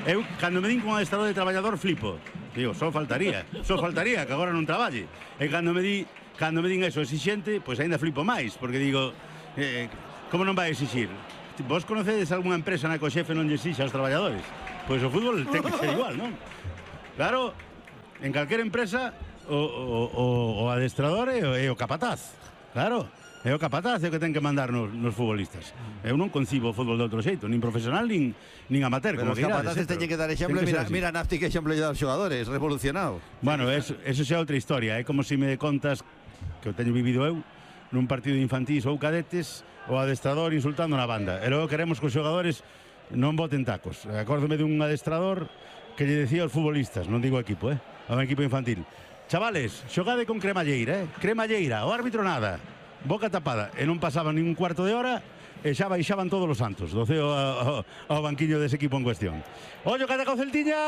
S5: Eu, cando me din con adestrador de traballador, flipo. Digo, só faltaría que agora non traballe. E cando me din eso exixente, pois ainda flipo máis, porque digo, como non vai exixir? Vos conocedes algunha empresa na que o xefe non lle exixa aos traballadores? Pois o fútbol ten que ser igual, non? Claro, en calquera empresa o adestrador é o capataz. Claro, é o capataz é o que ten que mandar nos futbolistas. Eu non concibo o fútbol de outro xeito, nin profesional nin amateur.
S2: Pero os capazaces teñen que dar exemplo. Mira Nafti que exemplo lle dá aos xogadores, revolucionado.
S5: Bueno, eso xa é outra historia. É como se me contas, que o teño vivido eu, nun partido de infantís ou cadetes, o adestrador insultando na banda. E logo queremos que os xogadores non boten tacos. Acórdome dun adestrador que lle decía aos futbolistas, non digo equipo, ao equipo infantil: chavales, xogade con cremalleira, cremalleira, o árbitro nada, boca tapada. E non pasaba nin un cuarto de hora e xa baixaban todos os santos do ceo ao banquiño dese equipo en cuestión. Ollo que ataca o Celtiña,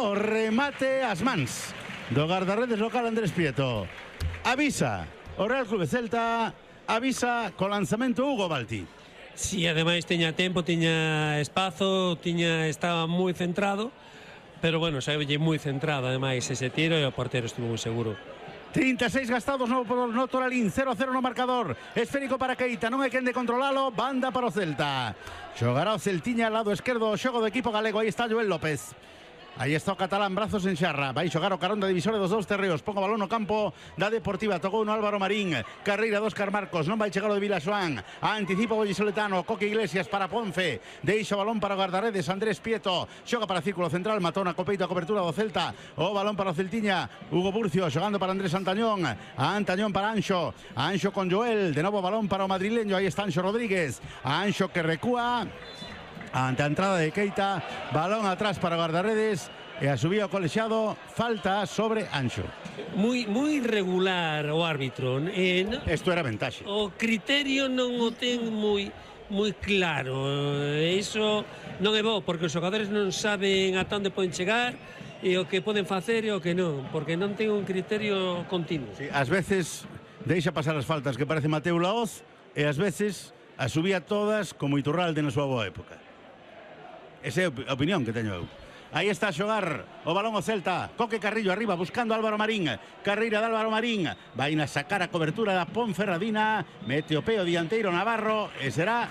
S5: o remate ás mans do guardarredes local Andrés Prieto. Avisa o Real Club Celta, avisa co lanzamento Hugo Balti.
S6: Si, ademais tiña tempo, tiña espazo, estaba moi centrado, pero bueno, saílle moi centrado ademais ese tiro e o portero estuvo moi seguro.
S5: 36 gastados no Toralín, 0-0 no marcador. Esférico para Keita, non hai quen de controlalo, banda para o Celta. Xogará o Celtiña al lado esquerdo, o xogo do equipo galego. Aí está Joel López. Aí está o catalán, brazos en xarra. Vai xogar o carón da divisora dos dous terreos. Pongo balón no campo da Deportiva. Tocou no Álvaro Marín. Carreira do Óscar Marcos. Non vai chegar o de Vilaxoán. Anticipa o Vallisoletano. Coque Iglesias para Ponce. Deixa o balón para o guardaredes Andrés Prieto. Xoga para círculo central. Matona co peito a cobertura do Celta. O balón para o Celtiña. Hugo Burcio xogando para Andrés Antañón. Antañón para Anxo. Anxo con Joel. De novo balón para o madrileño. Aí está Anxo Rodríguez. Anxo que recúa ante a entrada de Keita. Balón atrás para guardaredes e a subida ao colexiado. Falta sobre Anxo.
S6: Moi regular o árbitro.
S5: Isto era ventaxe.
S6: O criterio non o ten moi claro. Iso non é bo, porque os xogadores non saben ata onde poden chegar e o que poden facer e o que non, porque non ten un criterio continuo.
S5: Sí, ás veces deixa pasar as faltas que parece Mateu Laoz e ás veces as subía todas como Iturralde na súa boa época. Esa é a opinión que teño eu. Aí está a xogar o balón o Celta. Coque Carrillo arriba buscando Álvaro Marín. Carreira de Álvaro Marín. Vai a sacar a cobertura da Ponferradina. Mete o peo dianteiro Navarro e será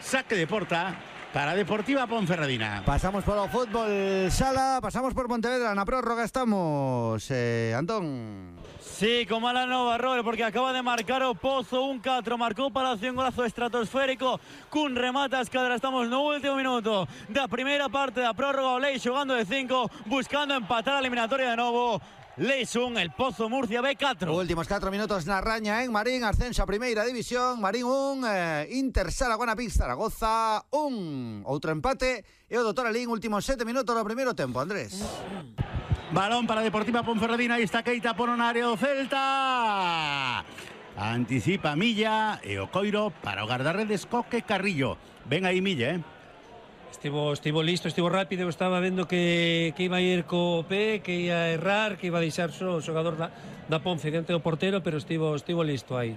S5: saque de porta para Deportiva Ponferradina.
S2: Pasamos por o fútbol sala, pasamos por Pontevedra. Na prórroga estamos, Antón.
S4: Sí, con mala nova, Robert, porque acaba de marcar o Pozo 1-4, marcou para un golazo estratosférico cun remate a escadra. Estamos no último minuto da primeira parte da prórroga. O Lei xogando de 5, buscando empatar a eliminatoria de novo. Leis 1, el Pozo Murcia B4.
S2: Últimos 4 minutos na raña en Marín, ascenso a primeira división. Marín 1, Inter Saragona Pix Zaragoza 1. Outro empate e o do Toralín, últimos 7 minutos do primeiro tempo, Andrés.
S5: Balón para Deportiva Ponferradina. Aí está Keita por un área do Celta. Anticipa Milla e o coiro para o guardarredes Coque Carrillo. Ven aí Milla,
S6: Estivo listo, estivo rápido. Estaba vendo que iba a ir co pé, que ia a errar, que iba a deixar só o xogador da Ponce diante do portero, pero estivo listo aí.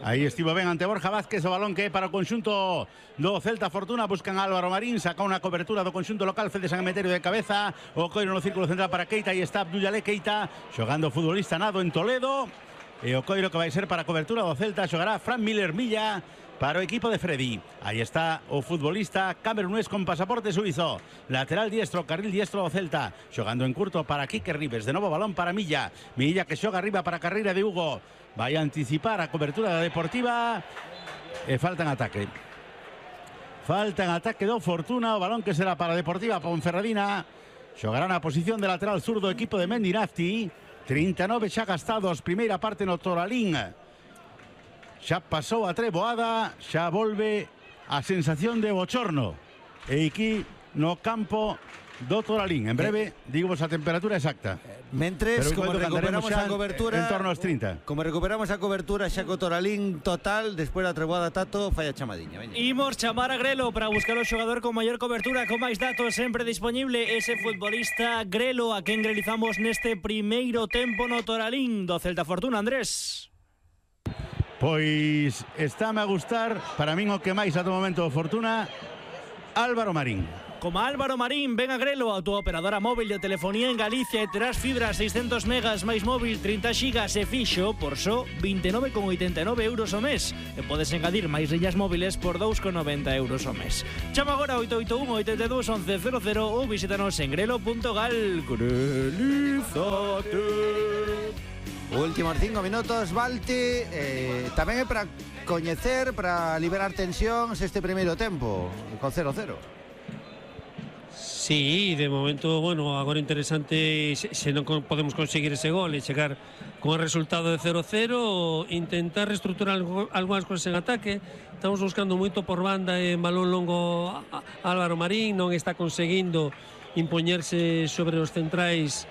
S5: Aí estivo ben ante Borja Vázquez. O balón que é para o conxunto do Celta Fortuna. Buscan a Álvaro Marín, saca unha cobertura do conxunto local. Fede San Emeterio de cabeza. O coiro no círculo central para Keita. Aí está Abdullalé Keita xogando futbolista nado en Toledo. E o coiro que vai ser para a cobertura do Celta. Xogará Fran Miller Milla para o equipo de Freddy. Aí está o futbolista camerunés con pasaporte suizo. Lateral diestro, carril diestro do Celta. Xogando en curto para Quique Ribes. De novo balón para Milla. Milla que xoga arriba para a carreira de Hugo. Vai a anticipar a cobertura da Deportiva. E falta en ataque. Falta en ataque do Fortuna. O balón que será para a Deportiva Ponferradina. Xogará na posición de lateral sur do equipo de Mendinafti. 39 xa gastados. Primeira parte no Toralín. Xa pasou a treboada. Xa volve a sensación de bochorno. E aquí no campo do Toralín. En breve, digamos a temperatura exacta.
S2: Mentres, como recuperamos a cobertura,
S5: en torno aos 30.
S2: Como recuperamos a cobertura xa co Toralín total, despois da treboada Tato, falla chamadiña. Veña.
S7: Imos chamar a Grelo para buscar o xogador con maior cobertura, con máis datos, sempre disponible ese futbolista Grelo, a quen grelizamos neste primeiro tempo no Toralín do Celta Fortuna, Andrés.
S5: Pois estáme a gustar, para min o que máis ato momento Fortuna, Álvaro Marín.
S7: Como Álvaro Marín, ven a Grelo, a tua operadora móvil de telefonía en Galicia e terás fibra 600 megas máis móvil 30 xigas e fixo por só 29,89 euros ao mes. E podes engadir máis liñas móviles por 2,90 euros ao mes. Chama agora 881 82 11 00 ou visítanos en grelo.gal. Grelízate.
S2: Últimos 5 minutos, Balti. Tamén é para coñecer, para liberar tensións este primeiro tempo, con 0-0.
S6: Sí, de momento, bueno, agora interesante se non podemos conseguir ese gol e chegar con o resultado de 0-0, intentar reestructurar algunhas cosas en ataque. Estamos buscando moito por banda en balón longo Álvaro Marín, non está conseguindo impoñerse sobre os centrais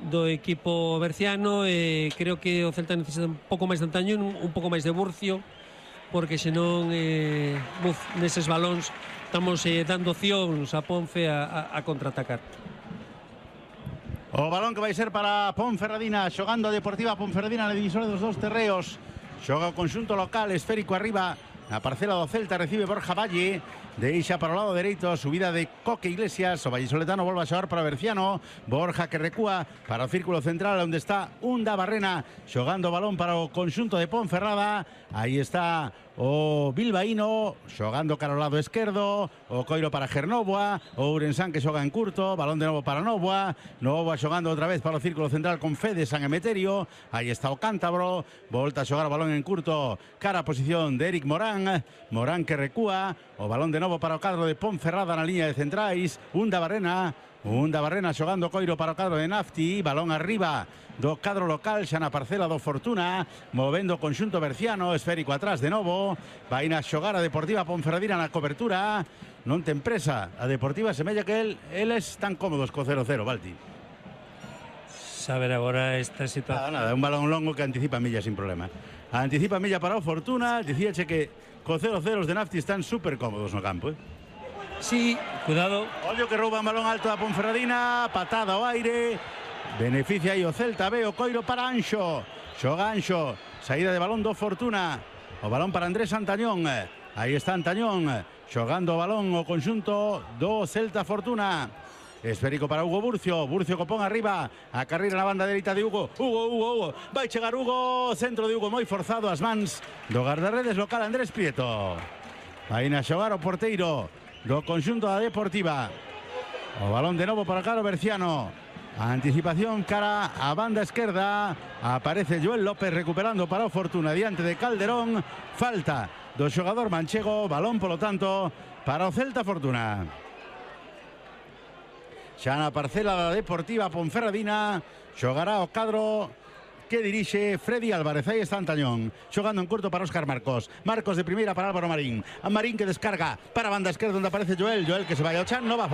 S6: do equipo berciano e creo que o Celta necesita un pouco máis de antañón, un pouco máis de Burcio, porque senón neses balóns estamos dando opcións a Ponfe a contraatacar.
S5: O balón que vai ser para Ponferradina, xogando a Deportiva Ponferradina na divisora dos dous terreos. Xoga o conxunto local, esférico arriba, na parcela do Celta, recibe Borja Valle, deixa para o lado dereito, subida de Coque Iglesias, o vallisoletano volve a xogar para Berciano, Borja que recúa para o círculo central onde está Unda Barrena, xogando o balón para o conxunto de Ponferrada. Aí está o bilbaíno xogando cara ao lado esquerdo, o coiro para Gernoboa, o Ourensán que xoga en curto, balón de novo para Novoa, Novoa xogando outra vez para o círculo central con Fede San Emeterio. Aí está o cántabro, volta a xogar o balón en curto cara a posición de Eric Morán, Morán que recúa, o balón de novo para o cadro de Ponferrada na liña de centrais, Unda Barrena xogando coiro para o cadro de Nafti, balón arriba do cadro local xa na parcela do Fortuna, movendo o conxunto berciano, esférico atrás de novo, vai na xogar a Deportiva Ponferradina na cobertura, non ten presa a Deportiva, semella que eles están cómodos co 0-0, Balti.
S6: Saber agora esta situación.
S5: Nada, un balón longo que anticipa milla sin problema. Anticipa milla para o Fortuna, dicíache que co 0-0 os de Nafti están super cómodos no campo,
S6: Sí, cuidado.
S5: Ollo que rouba un balón alto a Ponferradina, patada ao aire, beneficia aí o Celta, ve o coiro para Anxo, xoga Anxo, saída de balón do Fortuna, o balón para Andrés Antañón, aí está Antañón, xogando o balón o conxunto do Celta Fortuna, esférico para Hugo Burcio, Burcio que pon arriba, a carreira na banda dereita de Hugo, Hugo, vai chegar Hugo, centro de Hugo moi forzado, as mans do guardarredes local Andrés Prieto, vai na xogar o porteiro do conxunto da Deportiva, o balón de novo para Caro Berciano, a anticipación cara a banda esquerda, aparece Joel López recuperando para o Fortuna diante de Calderón, falta do xogador manchego, balón polo tanto para o Celta Fortuna. Xa na parcela da Deportiva Ponferradina xogará o cadro que dirixe Freddy Álvarez. Aí está Antañón, xogando en curto para Óscar Marcos, Marcos de primeira para Álvaro Marín, a Marín que descarga para a banda esquerda onde aparece Joel que se vai ao chan, nova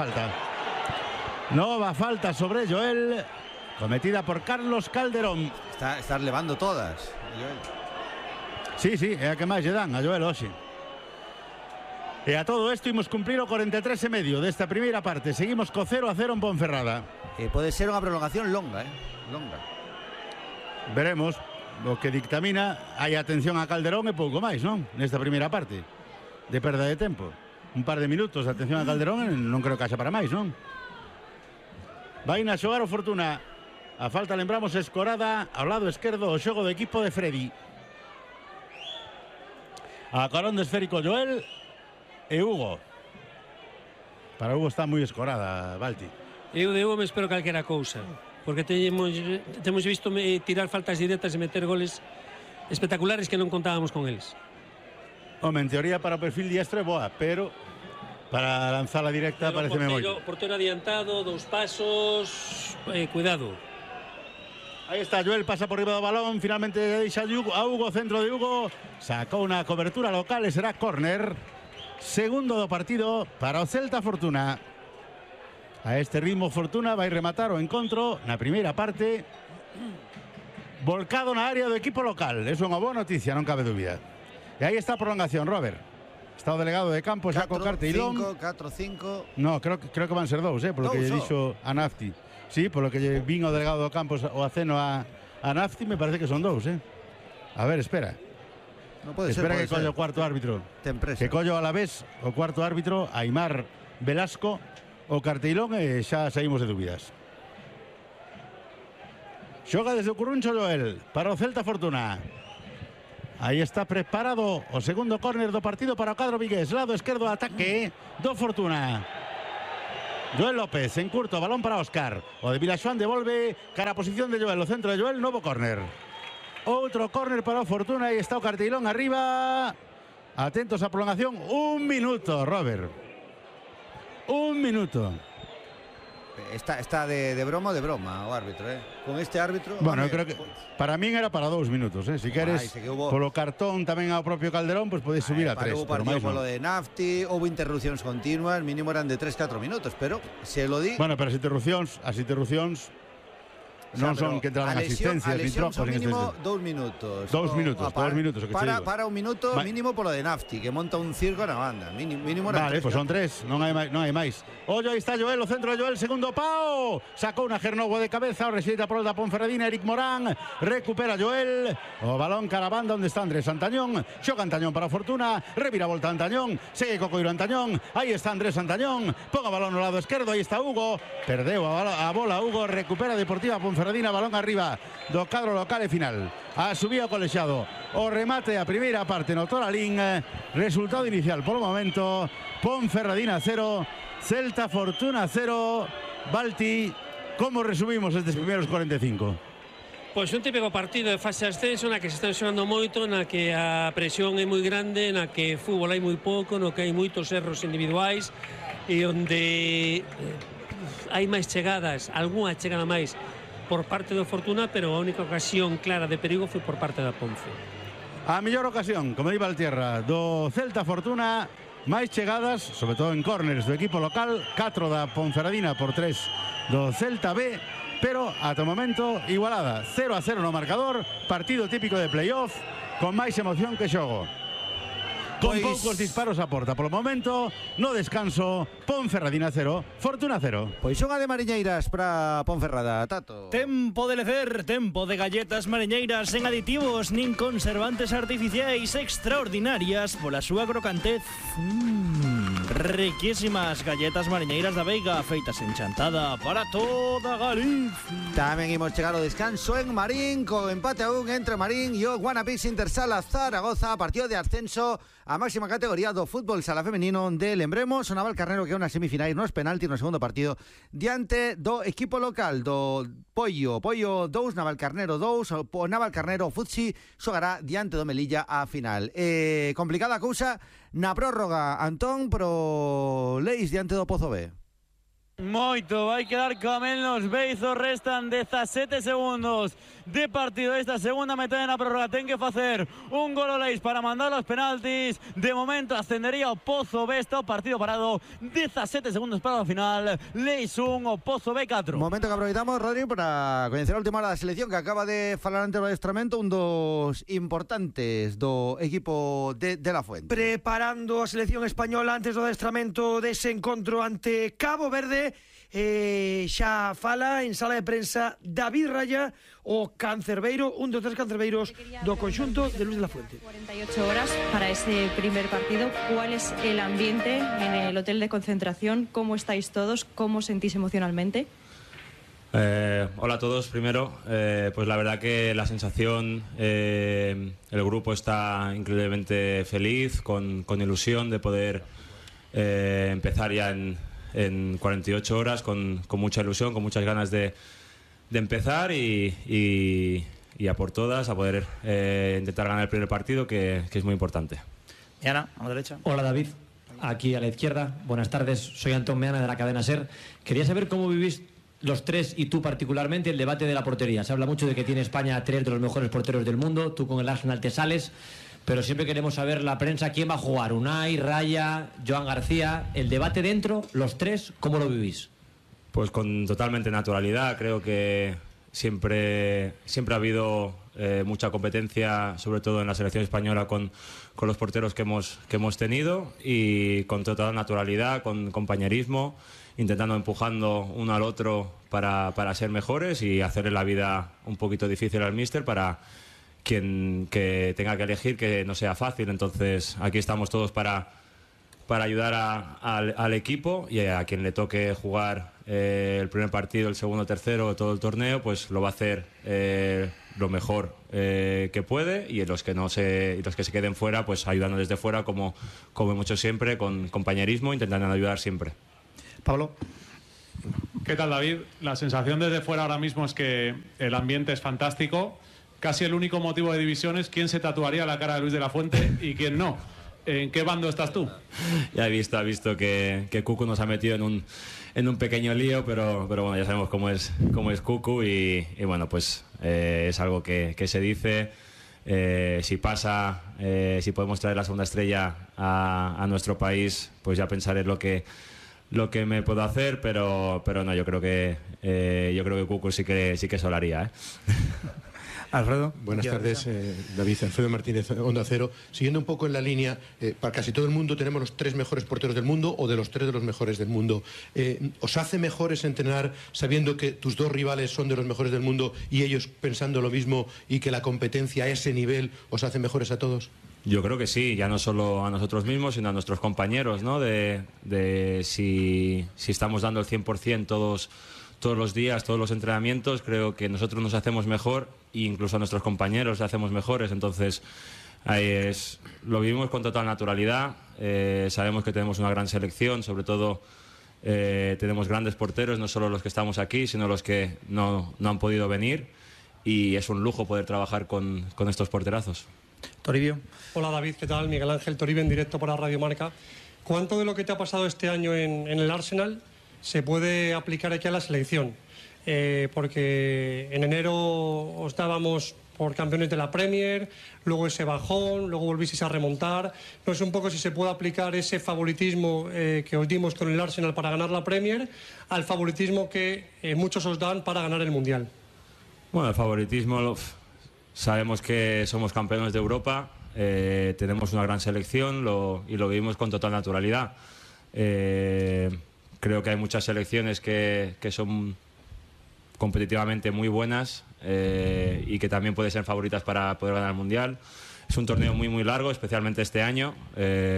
S5: falta sobre Joel, cometida por Carlos Calderón.
S2: Está levando todas, Joel.
S5: Sí, é a que máis lle dan a Joel hoxe. E a todo isto imos cumplir o 43 e medio desta primeira parte. Seguimos co 0-0 en Ponferrada.
S2: Pode ser unha prolongación longa, longa.
S5: Veremos o que dictamina. Hai atención a Calderón e pouco máis, non? Nesta primeira parte de perda de tempo, un par de minutos de atención a Calderón, non creo que haxa para máis, non? Vai na xogar o Fortuna, a falta, lembramos, escorada ao lado esquerdo, o xogo do equipo de Freddy. A carón de esférico Joel e Hugo. Para Hugo está moi escorada, Balti.
S6: Eu de Hugo me espero calquera cousa, porque temos visto tirar faltas directas e meter goles espectaculares que non contábamos con eles.
S5: Home, en teoría para o perfil diestro é boa, pero para lanzala directa pareceme moito.
S6: Portero adiantado, dous pasos, cuidado.
S5: Aí está Joel, pasa por riba do balón, finalmente deixa a Hugo, centro de Hugo, sacou unha cobertura local e será córner. Segundo do partido para o Celta Fortuna. A este ritmo Fortuna vai rematar o encontro na primeira parte, volcado na área do equipo local. É unha boa noticia, non cabe dúbida. E aí está a prolongación, Robert. Está o delegado de campo xa co carteilón.
S2: 4-5.
S5: No, creo que van ser dous, polo que lle dixo a Nafti. Sí, polo que lle vin o delegado do campo o aceno a Nafti, me parece que son dous, A ver, espera.
S2: No pode
S5: espera
S2: ser,
S5: que collo o cuarto árbitro.
S2: Ten presa.
S5: Que collo a la vez o cuarto árbitro, Aimar Velasco o cartilón e xa saímos de dúbidas. Xoga desde o Curruncho Joel para o Celta Fortuna. Aí está preparado o segundo córner do partido para o cadro vigués. Lado esquerdo, ataque do Fortuna. Joel López en curto, balón para Óscar. O de Vilaxoán devolve cara a posición de Joel, o centro de Joel, novo córner. Outro córner para o Fortuna, aí está o cartilón arriba. Atentos á prolongación, 1 minuto, Robert. 1 minuto.
S2: Está de broma o de broma o árbitro, con este árbitro.
S5: Bueno, eu creo que para min era para 2 minutos, Si queres, polo cartón tamén ao propio Calderón, pues podes subir a 3.
S2: Hubo partido polo de Nafti, houve interrupcións continuas, mínimo eran de 3-4 minutos, pero se lo di.
S5: Bueno, pero as interrupcións non son que entraran asistencias ni trocos.
S2: Mínimo 2 minutos.
S5: 2 minutos, 2 minutos.
S2: Para 1 minuto mínimo polo de Nafti, que monta un circo na banda. Mínimo
S5: vale, pues son 3, non hai máis. Ollo, aí está Joel, o centro de Joel, segundo pao. Sacou unha Gernogo de cabeza, o rexeita por el da Ponferradina, Eric Morán. Recupera Joel. O balón cara a banda onde está Andrés Antañón. Xoga Antañón para Fortuna. Revira volta Antañón. Segue Cocoiro Antañón. Aí está Andrés Antañón. Ponga balón no lado esquerdo. Aí está Hugo. Perdeu a bola Hugo. Recupera Deportiva Ponferradina. Balón arriba do cadro local e final. A subida o colexiado. O remate a primeira parte no Toralín. Resultado inicial polo momento. Ponferradina 0, Celta Fortuna 0. Balti, como resumimos estes primeiros 45?
S6: Pois un típico partido de fase de ascenso na que se están xogando moito, na que a presión é moi grande, na que fútbol hai moi pouco, no que hai moitos erros individuais e onde hai máis chegadas, algunha chegada máis por parte do Fortuna, pero a única ocasión clara de perigo foi por parte da Ponce.
S5: A mellor ocasión, como di Valtierra, do Celta Fortuna, máis chegadas, sobre todo en córneres do equipo local, 4 da Ponferradina por 3 do Celta B, pero ata o momento igualada, 0-0 no marcador, partido típico de playoff, con máis emoción que xogo. Con poucos disparos a porta polo momento, no descanso, Ponferradina 0, Fortuna 0.
S2: Pois unha de mariñeiras para Ponferrada, Tato.
S7: Tempo de lecer, tempo de galletas mariñeiras sen aditivos nin conservantes artificiais, extraordinarias pola súa crocantez. Riquísimas galletas mariñeiras da Veiga, feitas en Chantada para toda Galicia.
S2: Tamén imos chegar ao descanso en Marín, co empate a 1 entre Marín e o Guanapís Intersala Zaragoza, partido de ascenso a máxima categoría do fútbol sala femenino de lembremos o Navalcarnero que é unha semifinais nos penaltis no segundo partido diante do equipo local do Pollo 2, Navalcarnero 2. O Navalcarnero Futsi xogará diante do Melilla a final. Complicada cousa na prórroga, Antón, pro Leis diante do Pozo B.
S4: Moito, vai quedar co menos Beizos, restan 17 segundos de partido esta segunda metade na prórroga. Ten que facer un gol o Leis para mandar os penaltis. De momento ascendería o Pozo B, está o partido parado, 17 segundos para o final. Leis 1, o Pozo B 4.
S2: Momento que aproveitamos, Rodri, para coñecer a última hora da selección que acaba de falar antes do adestramento, un dos importantes do equipo de La Fuente.
S3: Preparando a selección española antes do adestramento dese encontro ante Cabo Verde. Xa fala en sala de prensa David Raya, o cancerbeiro, un dos 3 cancerbeiros do conxunto de Luis de la Fuente.
S10: 48 horas para ese primer partido. ¿Cuál es el ambiente en el hotel de concentración? ¿Cómo estáis todos? ¿Cómo sentís emocionalmente?
S11: Hola a todos. Primero, pues la verdad que la sensación, el grupo está increíblemente feliz, con ilusión de poder empezar ya en 48 horas, con mucha ilusión, con muchas ganas de empezar y a por todas, a poder intentar ganar el primer partido, que es muy importante.
S12: Meana, a la derecha.
S13: Hola David, aquí a la izquierda. Buenas tardes, soy Antón Meana de la cadena SER. Quería saber cómo vivís los tres y tú particularmente el debate de la portería. Se habla mucho de que tiene España 3 de los mejores porteros del mundo, tú con el Arsenal te sales, pero siempre queremos saber la prensa quién va a jugar, Unai, Raya, Joan García, el debate dentro, los tres, ¿cómo lo vivís?
S11: Pues con totalmente naturalidad. Creo que siempre ha habido mucha competencia, sobre todo en la selección española, con los porteros que hemos tenido, y con total naturalidad, con compañerismo, intentando empujando uno al otro para ser mejores y hacerle la vida un poquito difícil al míster para quien que tenga que elegir, que no sea fácil. Entonces aquí estamos todos para ayudar al equipo, y a quien le toque jugar el primer partido, el segundo, tercero, todo el torneo, pues lo va a hacer lo mejor que puede, y los que se queden fuera, pues ayudando desde fuera, como hemos hecho siempre, con compañerismo, intentando ayudar siempre.
S2: Pablo.
S12: ¿Qué tal, David? La sensación desde fuera ahora mismo es que el ambiente es fantástico. Casi el único motivo de división es quién se tatuaría la cara de Luis de la Fuente y quién no. ¿En qué bando estás tú?
S11: Ya he visto que Cucu nos ha metido en un pequeño lío, pero bueno, ya sabemos cómo es Cucu, y bueno, pues es algo que se dice. Si pasa, si podemos traer la segunda estrella a nuestro país, pues ya pensaré lo que me puedo hacer, pero no, yo creo que Cucu sí que se lo haría, ¿eh?
S2: Alfredo.
S14: Buenas tardes, David. Alfredo Martínez, Onda Cero. Siguiendo un poco en la línea, para casi todo el mundo tenemos los 3 mejores porteros del mundo, o de los 3 de los mejores del mundo. ¿Os hace mejores entrenar sabiendo que tus 2 rivales son de los mejores del mundo y ellos pensando lo mismo, y que la competencia a ese nivel os hace mejores a todos?
S11: Yo creo que sí, ya no solo a nosotros mismos, sino a nuestros compañeros, ¿no? De si estamos dando el 100% todos los días, todos los entrenamientos, creo que nosotros nos hacemos mejor, e incluso a nuestros compañeros les hacemos mejores. Entonces, lo vivimos con total naturalidad. Sabemos que tenemos una gran selección, sobre todo tenemos grandes porteros, no solo los que estamos aquí, sino los que no han podido venir, y es un lujo poder trabajar con estos porterazos.
S2: Toribio.
S15: Hola, David, ¿qué tal? Miguel Ángel Toribio, en directo para Radio Marca. ¿Cuánto de lo que te ha pasado este año en el Arsenal se puede aplicar aquí a la selección? Porque en enero os dábamos por campeones de la Premier, luego ese bajón, luego volvisteis a remontar. No sé un poco si se puede aplicar ese favoritismo que os dimos con el Arsenal para ganar la Premier al favoritismo que muchos os dan para ganar el Mundial.
S11: Bueno, el favoritismo, sabemos que somos campeones de Europa, tenemos una gran selección y lo vivimos con total naturalidad. Creo que hay muchas selecciones que son competitivamente muy buenas, y que también pueden ser favoritas para poder ganar el Mundial. Es un torneo muy largo, especialmente este año,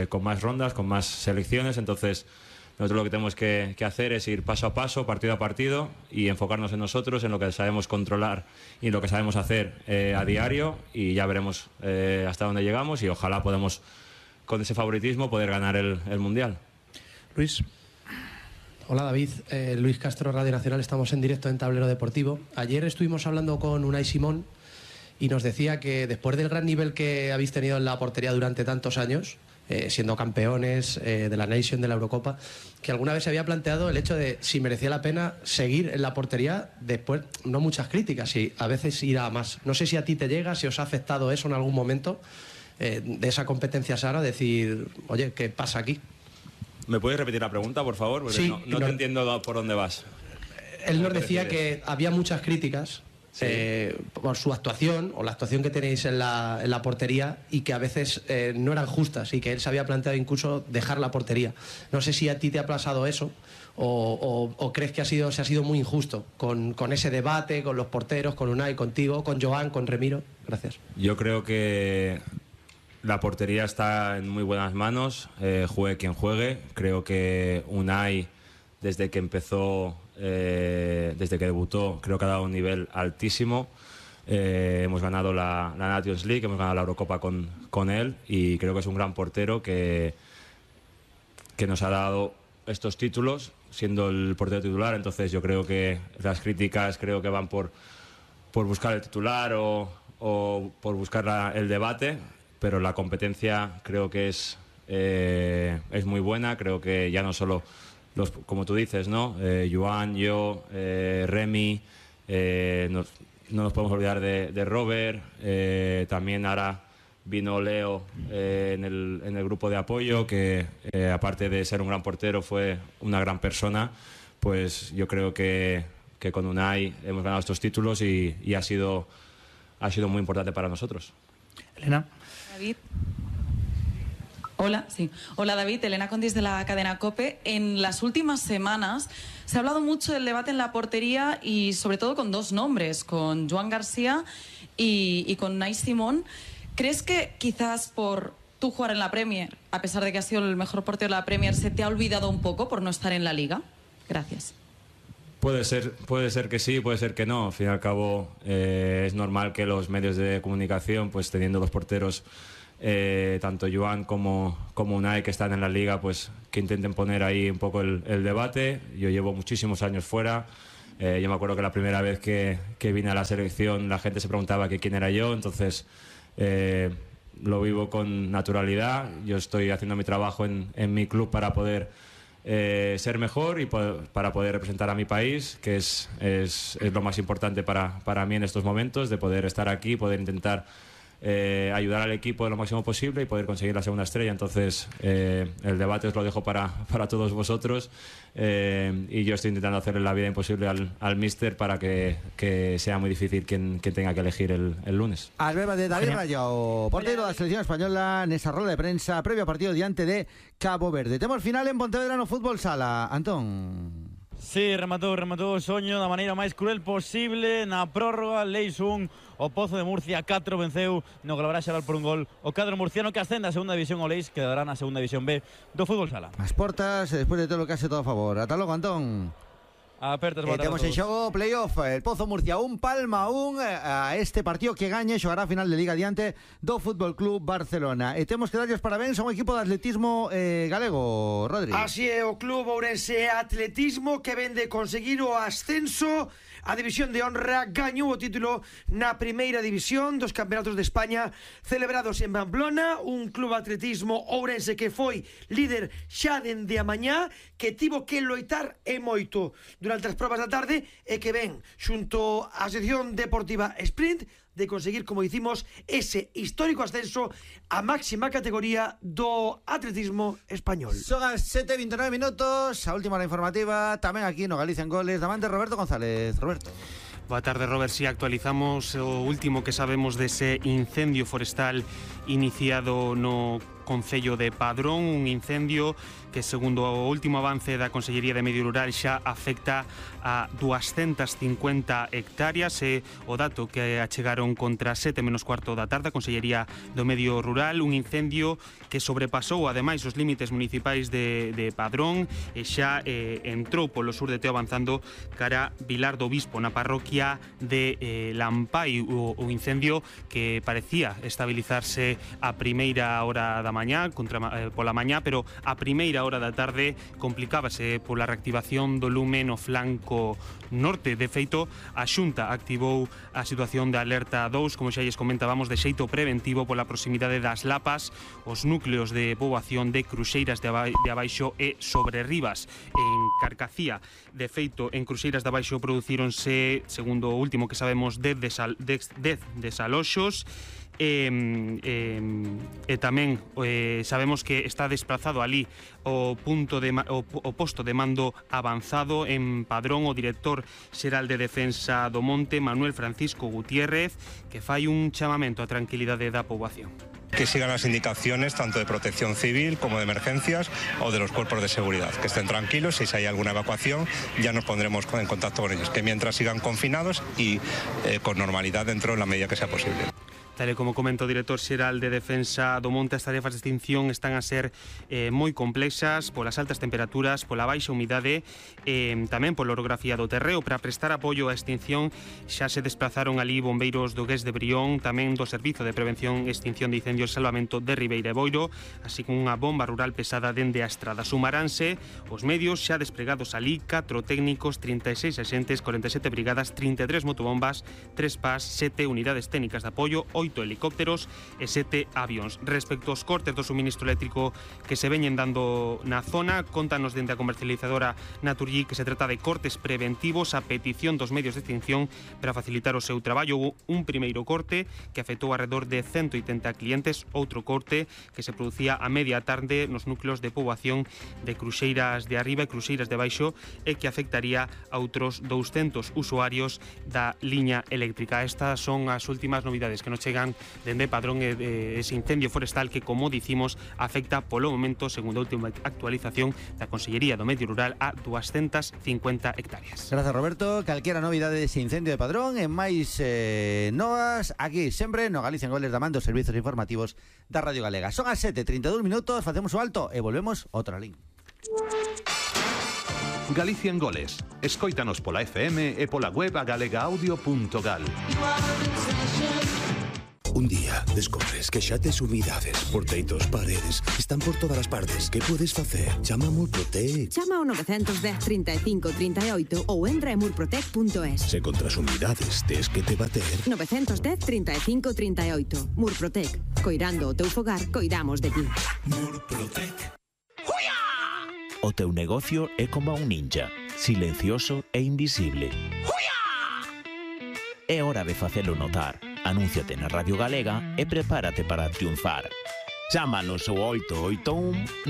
S11: con más rondas, con más selecciones. Entonces nosotros lo que tenemos que hacer es ir paso a paso, partido a partido, y enfocarnos en nosotros, en lo que sabemos controlar y en lo que sabemos hacer a diario, y ya veremos hasta dónde llegamos, y ojalá podamos, con ese favoritismo, poder ganar el Mundial.
S2: Luis.
S16: Hola, David. Luis Castro, Radio Nacional. Estamos en directo en Tablero Deportivo. Ayer estuvimos hablando con Unai Simón y nos decía que después del gran nivel que habéis tenido en la portería durante tantos años, siendo campeones de la Nation, de la Eurocopa, que alguna vez se había planteado el hecho de si merecía la pena seguir en la portería después, no muchas críticas, y a veces ir a más. No sé si a ti te llega, si os ha afectado eso en algún momento, de esa competencia sana, decir, oye, ¿qué pasa aquí?
S11: ¿Me puedes repetir la pregunta, por favor? Porque
S16: Sí,
S11: no te entiendo por dónde vas.
S16: Él nos decía que había muchas críticas por su actuación, o la actuación que tenéis en la portería, y que a veces no eran justas, y que él se había planteado incluso dejar la portería. No sé si a ti te ha pasado eso, o crees que se ha sido muy injusto con ese debate, con los porteros, con Unai, contigo, con Joan, con Remiro. Gracias.
S11: Yo creo que la portería está en muy buenas manos, juegue quien juegue. Creo que Unai, desde que empezó, desde que debutó, creo que ha dado un nivel altísimo. Hemos ganado la Nations League, hemos ganado la Eurocopa con él, y creo que es un gran portero que nos ha dado estos títulos siendo el portero titular. Entonces yo creo que las críticas van por buscar el titular o por buscar el debate, pero la competencia creo que es muy buena. Creo que ya no solo como tú dices, ¿no? Joan, yo, Remy, no nos podemos olvidar de Robert, también ahora vino Leo en el grupo de apoyo, que aparte de ser un gran portero fue una gran persona. Pues yo creo que con Unai hemos ganado estos títulos y ha sido muy importante para nosotros.
S2: Elena.
S17: David. Hola, sí. Hola, David. Elena Condis, de la cadena COPE. En las últimas semanas se ha hablado mucho del debate en la portería, y sobre todo con 2 nombres, con Joan García y con Unai Simón. ¿Crees que quizás por tú jugar en la Premier, a pesar de que has sido el mejor portero de la Premier, se te ha olvidado un poco por no estar en la Liga? Gracias.
S11: Puede ser que sí, puede ser que no. Al fin y al cabo es normal que los medios de comunicación, pues teniendo los porteros, tanto Joan como Unai, que están en la Liga, pues que intenten poner ahí un poco el debate. Yo llevo muchísimos años fuera. Yo me acuerdo que la primera vez que vine a la selección la gente se preguntaba que quién era yo, entonces lo vivo con naturalidad. Yo estoy haciendo mi trabajo en mi club para poder ser mejor y para poder representar a mi país, que es lo más importante para mí en estos momentos, de poder estar aquí, poder intentar ayudar al equipo de lo máximo posible y poder conseguir la segunda estrella. Entonces el debate os lo dejo para todos vosotros, y yo estoy intentando hacerle la vida imposible al míster para que sea muy difícil quien tenga que elegir el lunes.
S2: Albeba de David Rayao, portero da selección española nesa roda de prensa previo ao partido diante de Cabo Verde. Temos final en Pontevedra no Fútbol Sala. Antón.
S4: Sí, rematou o soño da maneira máis cruel posible. Na prórroga, Leis 1, o Pozo de Murcia 4 venceu no Glabra Xaral por un gol o cadro murciano, que ascende a segunda división. O Leis quedará na segunda división B do Fútbol Sala.
S2: As portas, despois de todo o que hace todo a favor. Ata logo, Antón.
S4: Apertas,
S2: temos en xogo playoff, el Pozo Murcia 1, Palma 1, a este partido que gañe xogará a final de Liga diante do Fútbol Club Barcelona. E temos que darlle os parabéns a un equipo de atletismo galego, Rodri.
S3: Así é, o Club Ourense Atletismo, que ven de conseguir o ascenso a División de Honra, gañou o título na primeira división dos Campeonatos de España celebrados en Pamplona. Un club atletismo ourense que foi líder xa dende a mañá, que tivo que loitar e moito durante as probas da tarde, e que ven xunto á sección deportiva Sprint de conseguir, como dicimos, ese histórico ascenso a máxima categoría do atletismo español.
S2: Son as 7:29 minutos, a última hora informativa, tamén aquí no Galicia en Goles, da man de Roberto González. Roberto.
S18: Boa tarde, Robert. Si actualizamos o último que sabemos dese incendio forestal iniciado no Concello de Padrón, un incendio que, segundo o último avance da Consellería de Medio Rural, xa afecta a 250 hectáreas. É o dato que achegaron contra 7:15 da tarde a Consellería do Medio Rural, un incendio que sobrepasou ademais os límites municipais de Padrón e xa entrou polo sur de Teo, avanzando cara Vilar do Bispo, na parroquia de Lampai. O incendio que parecía estabilizarse a primeira hora da mañá, pola mañá, pero a primeira hora da tarde complicábase pola reactivación do lume no flanco norte. De feito, a Xunta activou a situación de alerta 2, como xa lles comentábamos, de xeito preventivo pola proximidade das Lapas, os núcleos de poboación de Cruxeiras de Abaixo e Sobrerribas, en Carcacía. De feito, en Cruxeiras de Abaixo producíronse, segundo o último que sabemos, 10 desaloxos. E tamén sabemos que está desplazado ali o posto de mando avanzado en Padrón o director xeral de Defensa do Monte, Manuel Francisco Gutiérrez, que fai un chamamento á tranquilidade da poboación.
S19: Que sigan las indicaciones tanto de protección civil como de emergencias o de los cuerpos de seguridad, que estén tranquilos. Si hay alguna evacuación ya nos pondremos en contacto con ellos, que mientras sigan confinados y con normalidad dentro de la medida que sea posible.
S18: Tal e como comenta o director xeral de Defensa do Monte, as tarefas de extinción están a ser moi complexas polas altas temperaturas, pola baixa humidade, tamén pola orografía do terreo. Para prestar apoio á extinción xa se desplazaron ali bombeiros do GES de Brión, tamén do Servizo de Prevención e Extinción de Incendios e Salvamento de Ribeira e Boiro, así como unha bomba rural pesada dende a estrada. Sumaránse os medios xa despregados ali, 4 técnicos, 36 axentes, 47 brigadas, 33 motobombas, 3 PAS, 7 unidades técnicas de apoio, 8 helicópteros e 7 avións. Respecto aos cortes do suministro eléctrico que se veñen dando na zona, contanos dende a comercializadora Naturgy que se trata de cortes preventivos a petición dos medios de extinción para facilitar o seu traballo. Houve un primeiro corte que afectou alrededor de 180 clientes, outro corte que se producía a media tarde nos núcleos de poboación de Cruxeiras de Arriba e Cruxeiras de Baixo e que afectaría a outros 200 usuarios da liña eléctrica. Estas son as últimas novidades que nos chegan chegan dende Padrón ese incendio forestal que, como dicimos, afecta polo momento, segundo a última actualización da Consellería do Medio Rural, a 250 hectáreas.
S2: Gracias, Roberto. Calquera novidade dese incendio de Padrón e máis novas aquí sempre no Galicia en Goles da man dos servizos informativos da Radio Galega. Son as 7:32 minutos, facemos o alto e volvemos outra link.
S20: Galicia en Goles. Escóitanos pola FM e pola web agalegaaudio.gal.
S21: Un día descobres que xa tes humidades por teitos, paredes, están por todas as partes. Que podes facer? Chama a Murprotec.
S22: Chama ao 910 35 38 ou entra en murprotec.es.
S21: Se contra as humidades tes que te bater.
S22: 910 35 38. Murprotec. Coirando o teu fogar, coidamos de ti.
S21: Murprotec.
S23: O teu negocio é como un ninja, silencioso e invisible. É hora de facelo notar. Anúnciate na Radio Galega e prepárate para triunfar. Chámanos ao 881